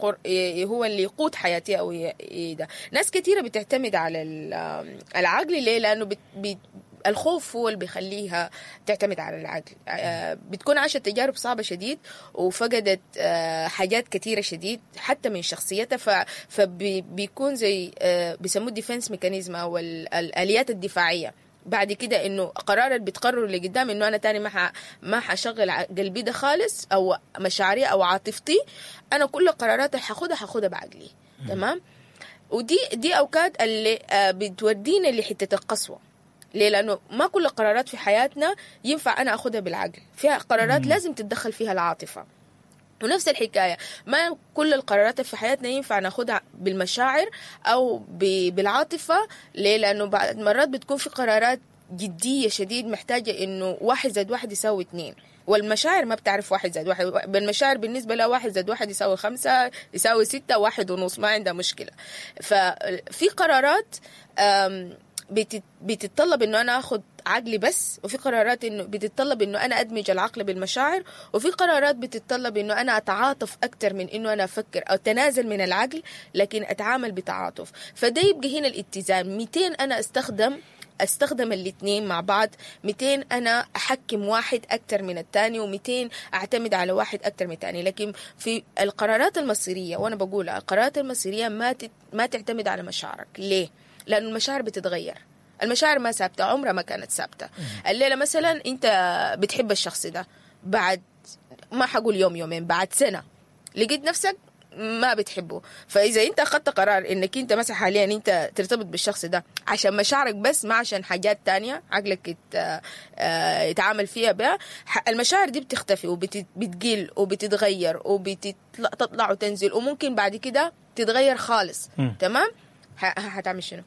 هو اللي يقود حياتي او ده. ناس كثيرة بتعتمد على العقل. ليه؟ لانه الخوف هو اللي بيخليها تعتمد على العقل. بتكون عاشت تجارب صعبة شديد وفقدت حاجات كثيرة شديد حتى من شخصيتها، فبيكون زي بيسموه defense mechanism او الآليات الدفاعية. بعد كده انه قرار اللي بتقرره اللي قدام انه انا تاني ما حشغل قلبي ده خالص او مشاعري او عاطفتي، انا كل قراراتي حاخدها بعقلي. تمام. ودي اوقات اللي بتودينا لحته القسوة. ليه؟ لانه ما كل القرارات في حياتنا ينفع انا اخدها بالعقل، فيها قرارات لازم تتدخل فيها العاطفة. ونفس الحكاية، ما كل القرارات في حياتنا ينفع ناخدها بالمشاعر أو بالعاطفة. ليه؟ لأنه بعد مرات بتكون في قرارات جدية شديد محتاجة إنه 1 زائد 1 يساوي 2، والمشاعر ما بتعرف 1 زائد 1. بالمشاعر بالنسبة لها 1 زائد 1 يساوي 5 يساوي 6 1.5، ما عندها مشكلة. ففي قرارات بتتطلب انه انا اخد عقلي بس، وفي قرارات انه بتتطلب انه انا ادمج العقل بالمشاعر، وفي قرارات بتتطلب انه انا اتعاطف اكتر من انه انا افكر او تنازل من العقل لكن اتعامل بتعاطف. فده يبقى هنا الاتزان. 200 انا استخدم الاثنين مع بعض، 200 انا احكم واحد اكتر من الثاني، و200 اعتمد على واحد اكتر من الثاني. لكن في القرارات المصيريه، وانا بقولها القرارات المصيريه ما تعتمد على مشاعرك. ليه؟ لأن المشاعر بتتغير، المشاعر ما ثابتة، عمرها ما كانت ثابتة. الليلة مثلا أنت بتحب الشخص ده، بعد ما حقول يوم يومين، بعد سنة لقيت نفسك ما بتحبه. فاذا انت اخذت قرار انك انت مثلا حاليا انت ترتبط بالشخص ده عشان مشاعرك بس، ما عشان حاجات تانية عقلك يتعامل فيها بها، المشاعر دي بتختفي وبتقل وبتتغير وبتطلع وتنزل، وممكن بعد كده تتغير خالص. تمام؟ هتعمل شنو؟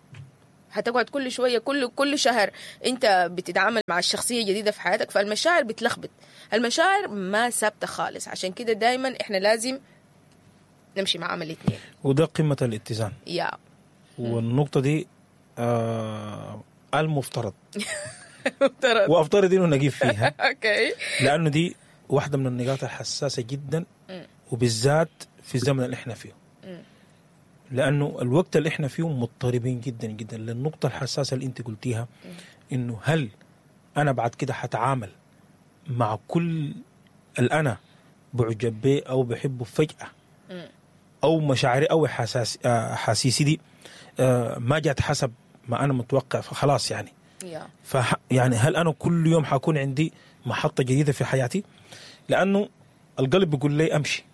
هتقعد كل شوية كل شهر انت بتتعامل مع الشخصية جديدة في حياتك، فالمشاعر بتلخبط، المشاعر ما ثابتة خالص. عشان كده دايما احنا لازم نمشي مع عمل الاثنين، وده قمة الاتزان. يا والنقطة دي المفترض وافترض انه نجيب فيها. okay، لانه دي واحدة من النقاط الحساسة جدا، وبالذات في الزمن اللي احنا فيه، لانه الوقت اللي احنا فيه مضطربين جدا جدا. للنقطة الحساسة اللي انت قلتيها، انه هل انا بعد كده حتعامل مع كل اللي انا بعجب به او بحبه فجاة، او مشاعري او احاسيسي دي ما جات حسب ما انا متوقع، فخلاص يعني يعني هل انا كل يوم حكون عندي محطة جديدة في حياتي؟ لانه القلب بيقول لي امشي،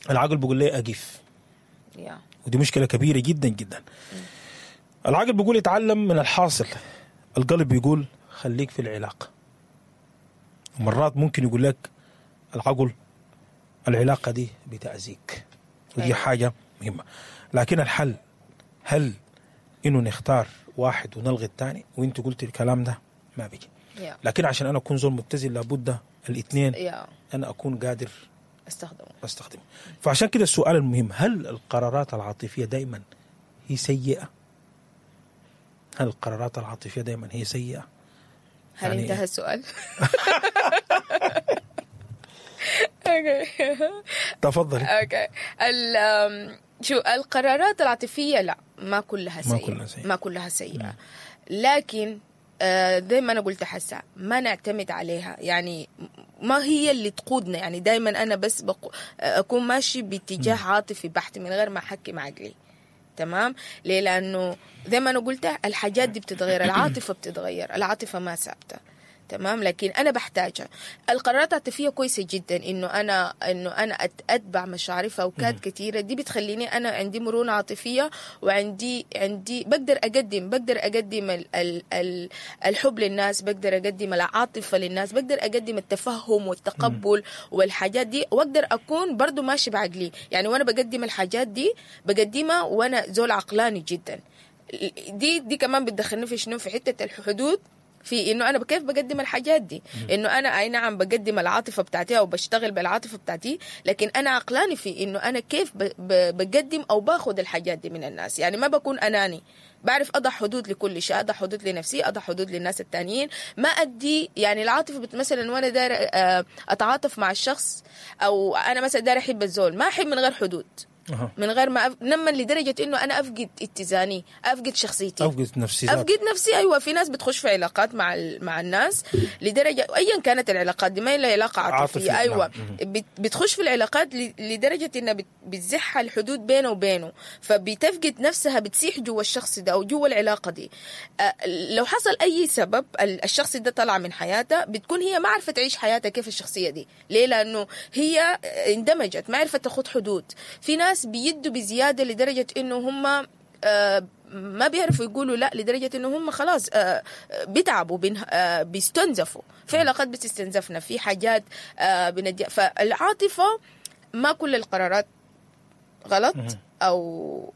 العقل بيقول لي اقف. ودي مشكلة كبيرة جدا جدا. العقل بيقول اتعلم من الحاصل، القلب بيقول خليك في العلاقة. ومرات ممكن يقول لك العقل العلاقة دي بتأذيك، ودي حاجة مهمة. لكن الحل هل إنه نختار واحد ونلغي الثاني؟ وانت قلت الكلام ده ما بيجي. لكن عشان أنا أكون زول متزن لابد الاثنين أنا أكون قادر أستخدمه. فعشان كده السؤال المهم، هل القرارات العاطفية دائما هي سيئة؟ هل القرارات العاطفية دائما هي سيئة؟ هل يعني انتهى السؤال؟ تفضلي. okay. شو القرارات العاطفية؟ لا، ما كلها سيئة، ما كلها سيئة، لكن زي ما أنا قلت حسا ما نعتمد عليها، يعني ما هي اللي تقودنا. يعني دايما أنا بس أكون ماشي باتجاه عاطفي بحت من غير ما أحكم عقلي. تمام؟ ليه؟ لأنه زي ما أنا قلت الحاجات دي بتتغير، العاطفة بتتغير، العاطفة ما ثابتة. تمام؟ لكن أنا بحتاجها. القرارات العاطفية كويسة جدا، إنه أنا أتبع مشاعري في أوقات كثيرة. دي بتخليني أنا عندي مرونة عاطفية، وعندي عندي بقدر أقدم الحب للناس، بقدر أقدم العاطفة للناس، بقدر أقدم التفهم والتقبل والحاجات دي، وأقدر أكون برضو ماشي بعقلي. يعني وأنا بقدم الحاجات دي بقدمها وأنا زول عقلاني جدا. دي كمان بتدخلني في شنو؟ في حتة الحدود، في انه انا كيف بقدم الحاجات دي، انه انا اي نعم بقدم العاطفة بتاعتي او بشتغل بالعاطفه بتاعتي، لكن انا عقلاني في انه انا كيف بقدم او باخذ الحاجات دي من الناس. يعني ما بكون اناني، بعرف اضع حدود لكل شيء، اضع حدود لنفسي، اضع حدود للناس التانيين، ما ادي يعني العاطفة. مثلا وانا داير اتعاطف مع الشخص، او انا مثلا داير احب الزول، ما احب من غير حدود، من غير ما نما لدرجة إنه أنا أفقد اتزاني، أفقد شخصيتي، أفقد نفسي. أيوة، في ناس بتخش في علاقات مع الناس لدرجة أيا كانت العلاقات دي، ما هي علاقة عاطفية، أيوة بتخش في العلاقات لدرجة إنها بتزحها الحدود بينه وبينه، فبتفقد نفسها، بتسيح جوا الشخص ده أو جوا العلاقة دي. لو حصل أي سبب الشخص ده طلع من حياتها، بتكون هي ما عرفت تعيش حياتها كيف الشخصية دي. ليه؟ لأنه هي اندمجت، ما عرفت تاخد حدود. في ناس بيدوا بزيادة لدرجة إنه هم ما بيعرفوا يقولوا لا، لدرجة إنه هم خلاص بيتعبوا، بيستنزفوا. في علاقات بتستنزفنا، في حاجات فالعاطفة ما كل القرارات غلط أو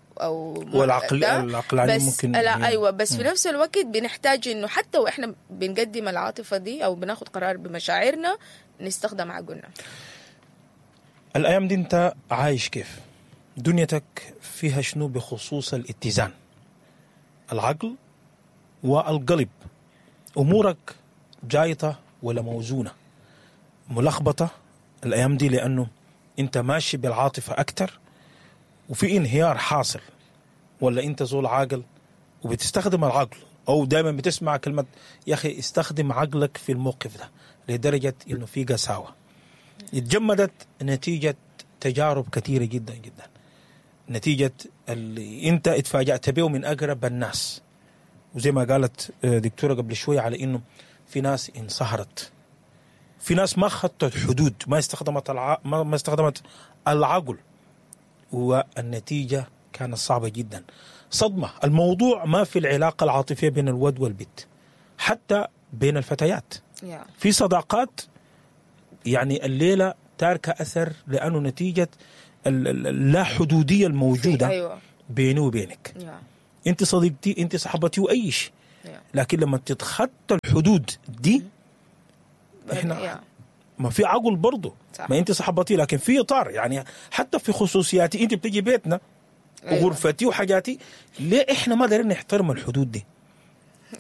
والعقل العقلاني ممكن، لا أيوة، بس في نفس الوقت بنحتاج إنه حتى وإحنا بنقدم العاطفة دي أو بناخد قرار بمشاعرنا نستخدم عقلنا. الأيام دي أنت عايش كيف؟ دنيتك فيها شنو بخصوص الاتزان؟ العقل والقلب، أمورك جايطة ولا موزونة؟ ملخبطة الأيام دي لأنه أنت ماشي بالعاطفة أكتر وفي انهيار حاصل، ولا أنت زول عاقل وبتستخدم العقل، أو دائما بتسمع كلمة يا أخي استخدم عقلك في الموقف ده، لدرجة إنه في قساوة اتجمدت نتيجة تجارب كثيرة جدا جدا، نتيجة اللي انت اتفاجأت به من أقرب الناس. وزي ما قالت دكتورة قبل شوية على انه في ناس انصهرت، في ناس ما خطت حدود، ما استخدمت ما استخدمت العقل، والنتيجة كانت صعبة جدا، صدمة. الموضوع ما في العلاقة العاطفية بين الود والبت، حتى بين الفتيات في صداقات يعني الليلة تاركة أثر، لأنه نتيجة اللا حدودية الموجودة بيني وبينك. أنت صديقتي، أنت صاحبتي، وأي شيء، لكن لما تتخطى الحدود دي إحنا ما في عقل برضه. ما أنت صاحبتي لكن في إطار، يعني حتى في خصوصياتي، أنت بتجي بيتنا وغرفتي وحاجاتي، ليه إحنا ما دارين نحترم الحدود دي؟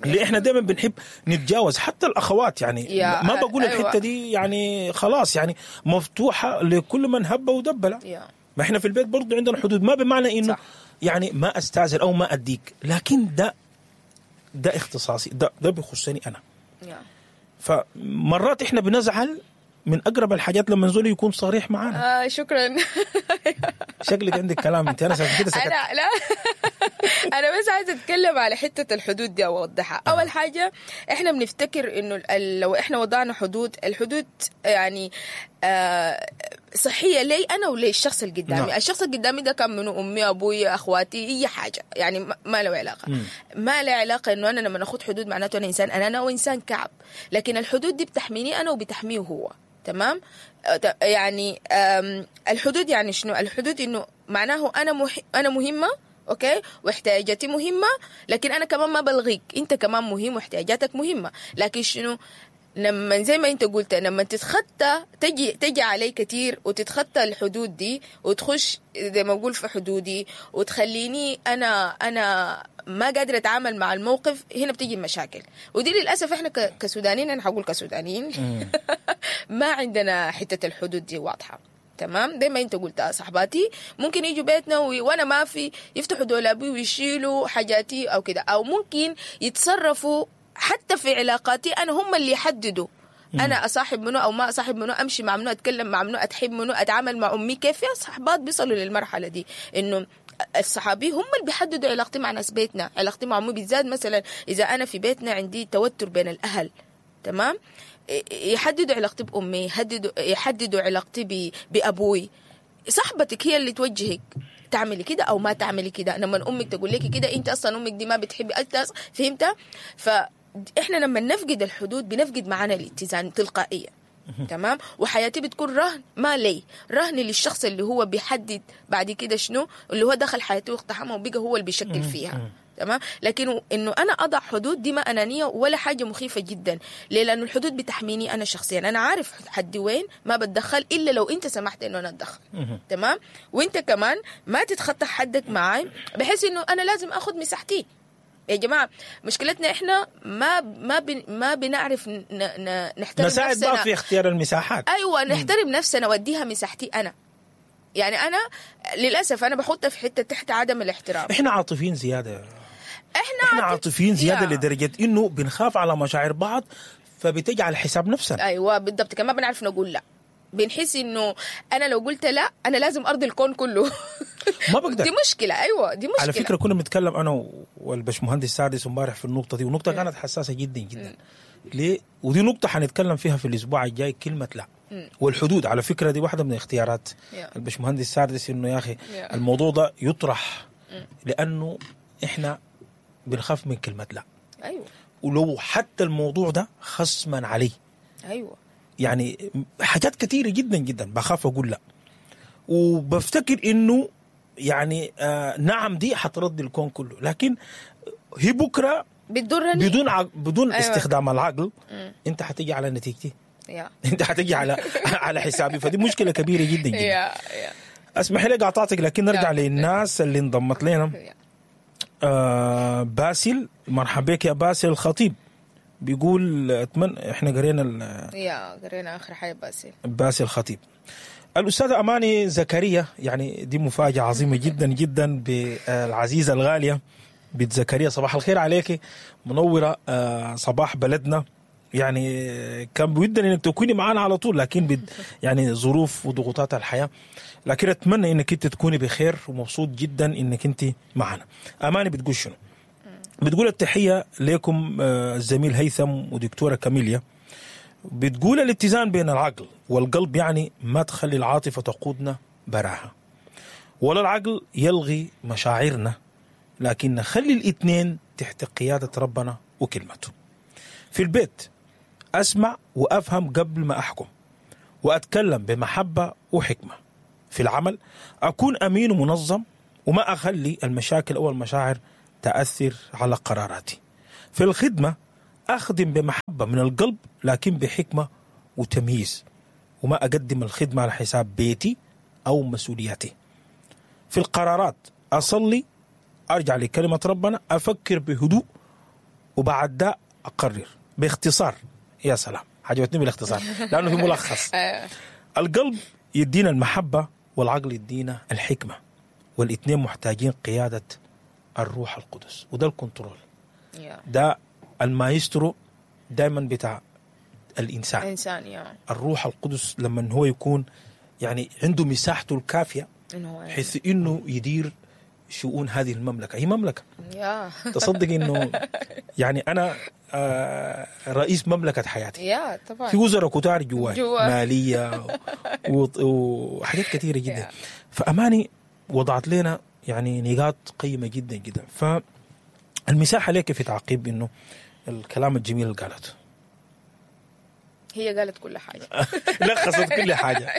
ليه احنا دايما بنحب نتجاوز؟ حتى الاخوات يعني ما بقول الحتة دي يعني خلاص يعني مفتوحة لكل من هب ودب، لا. ما احنا في البيت برضو عندنا حدود، ما بمعنى انه يعني ما استاذن او ما اديك، لكن ده اختصاصي، ده بيخصني انا. فمرات احنا بنزعل من اقرب الحاجات لما زول يكون صريح معانا. شكرا. شكلك عندك كلام انت، انا كده سكت. انا لا انا بس عايزه اتكلم على حتة الحدود دي اوضحها. اول حاجة احنا بنفتكر انه لو احنا وضعنا حدود، الحدود يعني صحية لي انا وللشخص اللي قدامي. نعم. الشخص اللي قدامي ده كان منه امي، ابوي، اخواتي، اي حاجة، يعني ما له علاقة. ما له علاقة انه انا لما اخذ حدود معناته انا انسان انا وانسان كعب، لكن الحدود دي بتحميني انا وبتحميه هو. تمام؟ يعني الحدود يعني شنو؟ الحدود انه معناه انا مهمة، okay، واحتياجاتي مهمة، لكن انا كمان ما بلغيك، انت كمان مهم واحتياجاتك مهمة، لكن شنو؟ لما زي ما انت قلت، لما تتخطى تجي علي كتير وتتخطى الحدود دي وتخش زي ما اقول في حدودي وتخليني انا ما قادرة اتعامل مع الموقف، هنا بتيجي المشاكل. ودي للاسف احنا كسودانيين، انا حقول كسودانيين ما عندنا حتة الحدود دي واضحة. تمام؟ زي ما انت قلت، صاحباتي ممكن يجوا بيتنا وانا ما في، يفتحوا دولابي ويشيلوا حاجاتي او كده، او ممكن يتصرفوا حتى في علاقاتي انا، هم اللي يحددوا انا اصاحب منو او ما اصاحب منو، امشي مع منو، اتكلم مع منو، اتحب منو، اتعامل مع امي كيف. يا صحبات بيصلوا للمرحلة دي انه الصحابي هم اللي بيحددوا علاقتي مع ناس بيتنا، علاقتي مع امي بالذات. مثلا اذا انا في بيتنا عندي توتر بين الاهل، تمام، يحددوا علاقتي بامي، يحددوا علاقتي بابوي. صاحبتك هي اللي توجهك تعملي كده او ما تعملي كده. لما امك تقول لك كده، انت اصلا امك دي ما بتحبي، انت فهمت؟ فاحنا لما نفقد الحدود بنفقد معنا الاتزان تلقائيا. تمام؟ وحياتي بتكون رهن، ما لي رهن للشخص اللي هو بيحدد بعد كده شنو، اللي هو دخل حياتي واقتحمها وبقى هو اللي بيشكل فيها. تمام؟ لكن انه انا اضع حدود دي ما انانية ولا حاجة مخيفة جدا. ليه؟ لانه الحدود بتحميني انا شخصيا، انا عارف حدي وين، ما بتدخل الا لو انت سمحت انه انا اتدخل. تمام؟ وانت كمان ما تتخطى حدك معاي، بحيث انه انا لازم اخذ مساحتي. يا جماعة مشكلتنا احنا ما بنعرف نحترم نساعد نفسنا، بعض في اختيار المساحات. ايوه، نحترم نفسنا واديها مساحتي انا. يعني انا للاسف انا بحطها في حتة تحت عدم الاحترام. احنا عاطفيين زيادة، احنا عاطفيين زيادة لدرجة انه بنخاف على مشاعر بعض، فبتجي على حساب نفسنا. ايوه بالضبط، كمان بنعرف نقول لا، بنحس انه انا لو قلت لا انا لازم ارضي الكون كله. ما بقدر. دي مشكلة. ايوه دي مشكلة. على فكرة كنا بنتكلم انا والبشمهندس سادس امبارح في النقطة دي، ونقطة كانت حساسة جدا جدا. ليه؟ ودي نقطة حنتكلم فيها في الاسبوع الجاي، كلمة لا والحدود. على فكرة دي واحدة من اختيارات البشمهندس سادس، انه يا اخي الموضوع ده يطرح، لانه احنا بنخاف من كلمة لا. ايوه، ولو حتى الموضوع ده خصما عليه. ايوه، يعني حاجات كثيرة جدا جدا بخاف أقول لا، وبفتكر إنه يعني نعم دي حترضي الكون كله، لكن هي بكرة بتضرني بدون أيوة. استخدام العقل. أنت حتيجي على نتيجتي، أنت حتيجي على حسابي، فدي مشكلة كبيرة جدا جدا. أسمح لي قاطعتك، لكن نرجع للناس اللي انضمت لنا. باسل، مرحبا بك يا باسل الخطيب. بيقول اتمنى احنا قرينا قرينا اخر حاجة باسل الخطيب. الاستاذة اماني زكريا، يعني دي مفاجاة عظيمة جدا جدا بالعزيزه الغالية بنت زكريا، صباح الخير عليك، منورة صباح بلدنا. يعني كان بودنا انك تكوني معنا على طول، لكن يعني ظروف وضغوطات الحياة، لكن اتمنى انك انت تكوني بخير، ومبسوط جدا انك انت معنا. اماني بتقول شنو؟ بتقول التحية لكم الزميل هيثم ودكتورة كاميليا. بتقول الاتزان بين العقل والقلب يعني ما تخلي العاطفة تقودنا براها، ولا العقل يلغي مشاعرنا، لكن نخلي الاثنين تحت قيادة ربنا وكلمته. في البيت أسمع وأفهم قبل ما أحكم، وأتكلم بمحبة وحكمة. في العمل أكون أمين ومنظم، وما أخلي المشاكل أو المشاعر تأثر على قراراتي. في الخدمة أخدم بمحبة من القلب، لكن بحكمة وتمييز، وما أقدم الخدمة على حساب بيتي أو مسؤولياتي. في القرارات أصلي، أرجع لكلمة ربنا، أفكر بهدوء، وبعد ده أقرر باختصار. يا سلام، عجبتني بالاختصار لأنه في ملخص. القلب يدينا المحبة والعقل يدينا الحكمة، والاثنين محتاجين قيادة الروح القدس، وده ال control، ده المايسترو دايما بتاع الإنسان. إنسان الروح القدس لما هو يكون يعني عنده مساحته الكافية بحيث إنه يدير شؤون هذه المملكة. هي مملكة. تصدق إنه يعني أنا رئيس مملكة حياتي. طبعا. في وزراء كتار جواي، مالية وحاجات كثيرة جدا. فأماني وضعت لنا يعني نقاط قيمة جدا جدا. فالمساحة لك في تعقيب إنه الكلام الجميل اللي قالته. هي قالت كل حاجة. لخصت كل حاجة.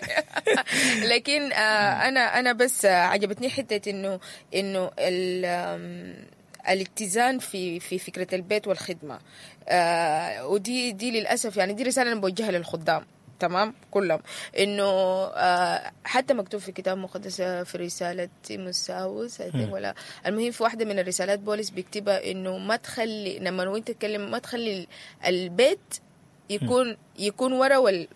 لكن أنا بس عجبتني حتة إنه الاتزان في فكرة البيت والخدمة، ودي للأسف يعني دي رسالة أنا بوجهها للخدام، تمام، كلهم، إنه حتى مكتوب في كتاب مقدس في رسالة تيموثاوس ولا المهم في واحدة من الرسالات بولس بيكتبها إنه ما تخلي لما وانت تتكلم ما تخلي البيت يكون ورا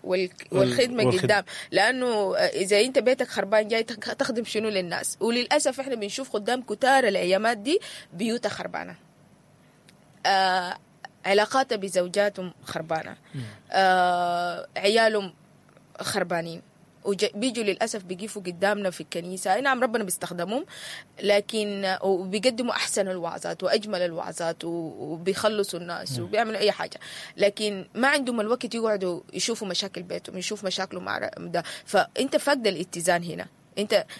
والخدمة قدام، لأنه إذا أنت بيتك خربان جاي تخدم شنو للناس؟ وللأسف إحنا بنشوف خدام كتار الأيامات دي بيوتها خربانة، علاقاتها بزوجاتهم خربانة، عيالهم خربانين، وبيجوا للأسف بيقفوا قدامنا في الكنيسة. نعم ربنا بيستخدمهم، لكن وبيقدموا أحسن الوعظات وأجمل الوعظات وبيخلصوا الناس وبيعملوا أي حاجة، لكن ما عندهم الوقت يقعدوا يشوفوا مشاكل بيتهم، يشوفوا مشاكله مع ده. فأنت فاقد الاتزان هنا،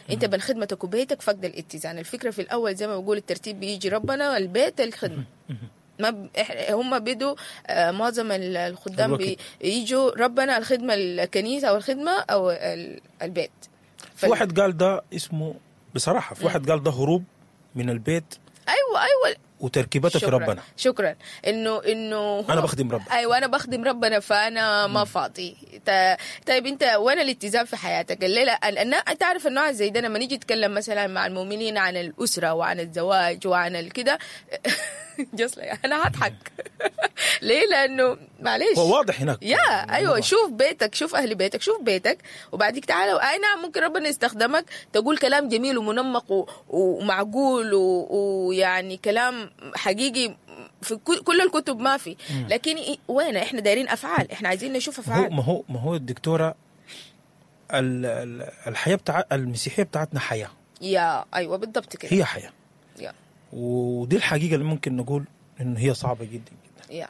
أنت بين خدمتك وبيتك فاقد الاتزان. الفكرة في الأول زي ما بقول الترتيب بيجي ربنا، البيت، الخدمة. ما هم بدوا معظم الخدام بيجوا ربنا، الخدمة، الكنيسة أو الخدمة أو البيت. في واحد قال ده اسمه بصراحة، في واحد قال ده هروب من البيت. أيوة وتركيبته في ربنا. شكرا. إنه أنا بخدم ربنا. أيوة أنا بخدم ربنا، فأنا ما فاضي. طيب أنت وين الاتزان في حياتك؟ الليلة أنا تعرف النوع زي ده لما نيجي نتكلم مثلا مع المؤمنين عن الأسرة وعن الزواج وعن الكده، جصلي أنا هضحك. ليه؟ لأنه معلش هو واضح هناك. يا أيوة، شوف بيتك، شوف أهل بيتك، شوف بيتك، وبعديك تعالى. أي نعم ممكن ربنا يستخدمك تقول كلام جميل ومنمق ومعقول ويعني كلام حقيقي في كل الكتب ما في، لكن وين إحنا دايرين أفعال، إحنا عايزين نشوف أفعال. ما هو الدكتورة، الحياة بتاع المسيحية بتاعتنا حياة. يا أيوة بالضبط كده، هي حياة. يا ودي الحقيقة اللي ممكن نقول إنه هي صعبة جدا جدا.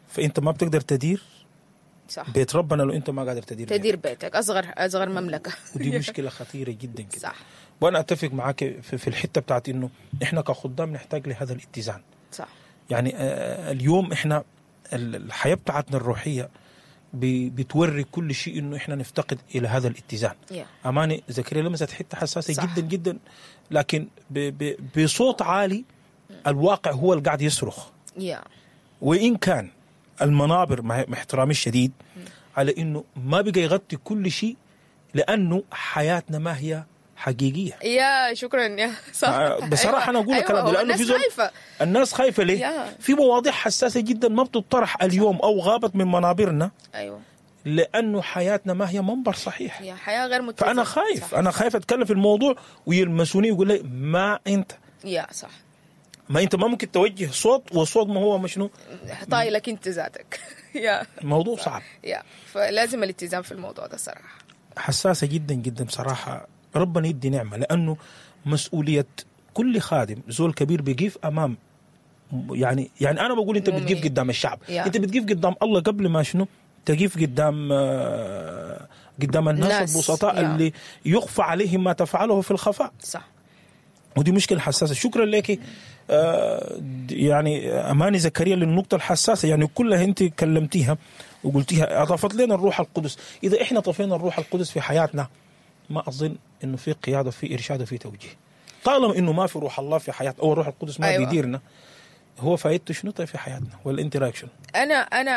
فأنت ما بتقدر تدير صح بيت ربنا لو أنت ما قادر تدير بيتك، أصغر مملكة. ودي مشكلة خطيرة جدا جدا. صح. وأنا أتفق معاك في الحتة بتاعت إنه إحنا كخدام نحتاج لهذا الاتزان. صح. يعني اليوم إحنا الحياة بتاعتنا الروحية بتوري كل شيء إنه إحنا نفتقد إلى هذا الاتزان. أماني زكريا لمست حتة حساسة صح. جدا جدا، لكن بصوت عالي الواقع هو اللي قاعد يصرخ. وإن كان المنابر مع احترامي الشديد على إنه ما بقى يغطي كل شيء، لأنه حياتنا ما هي حقيقية. يا شكرا يا صح. بصراحة أنا أقول الكلام ده لأنه في زول الناس خايفة. ليه؟ في مواضيع حساسة جدا ما بتطرح اليوم أو غابت من منابرنا. أيوة. لأنه حياتنا ما هي منبر صحيح. يا حياة غير متزنة. فأنا خايف صح. أنا خايف أتكلم في الموضوع ويلمسوني ويقول لي ما أنت. يا صح. ما أنت ما ممكن توجه صوت، والصوت ما هو مشنو طايلك أنت ذاتك. يا الموضوع صعب. يا فلازم الاتزان في الموضوع ده صراحة. حساسة جدا جدا بصراحة. ربنا يدي نعمة، لأنه مسؤولية كل خادم زول كبير بيقف أمام، يعني أنا بقول أنت بتقف قدام الشعب. أنت بتقف قدام الله قبل ما شنو تقيف قدام قدام الناس البسطاء اللي يخفى عليهم ما تفعله في الخفاء. ودي مشكلة حساسة. شكرا لك يعني اماني زكريا للنقطة الحساسه، يعني كلها انت كلمتيها وقلتيها، اضافت لنا الروح القدس. اذا احنا طفينا الروح القدس في حياتنا، ما اظن انه في قيادة، في ارشاد، وفي توجيه. طالما انه ما في روح الله في حياتنا او الروح القدس ما بيديرنا، هو فايدته شنو طيب في حياتنا؟ ولا انت رايك شنو؟ انا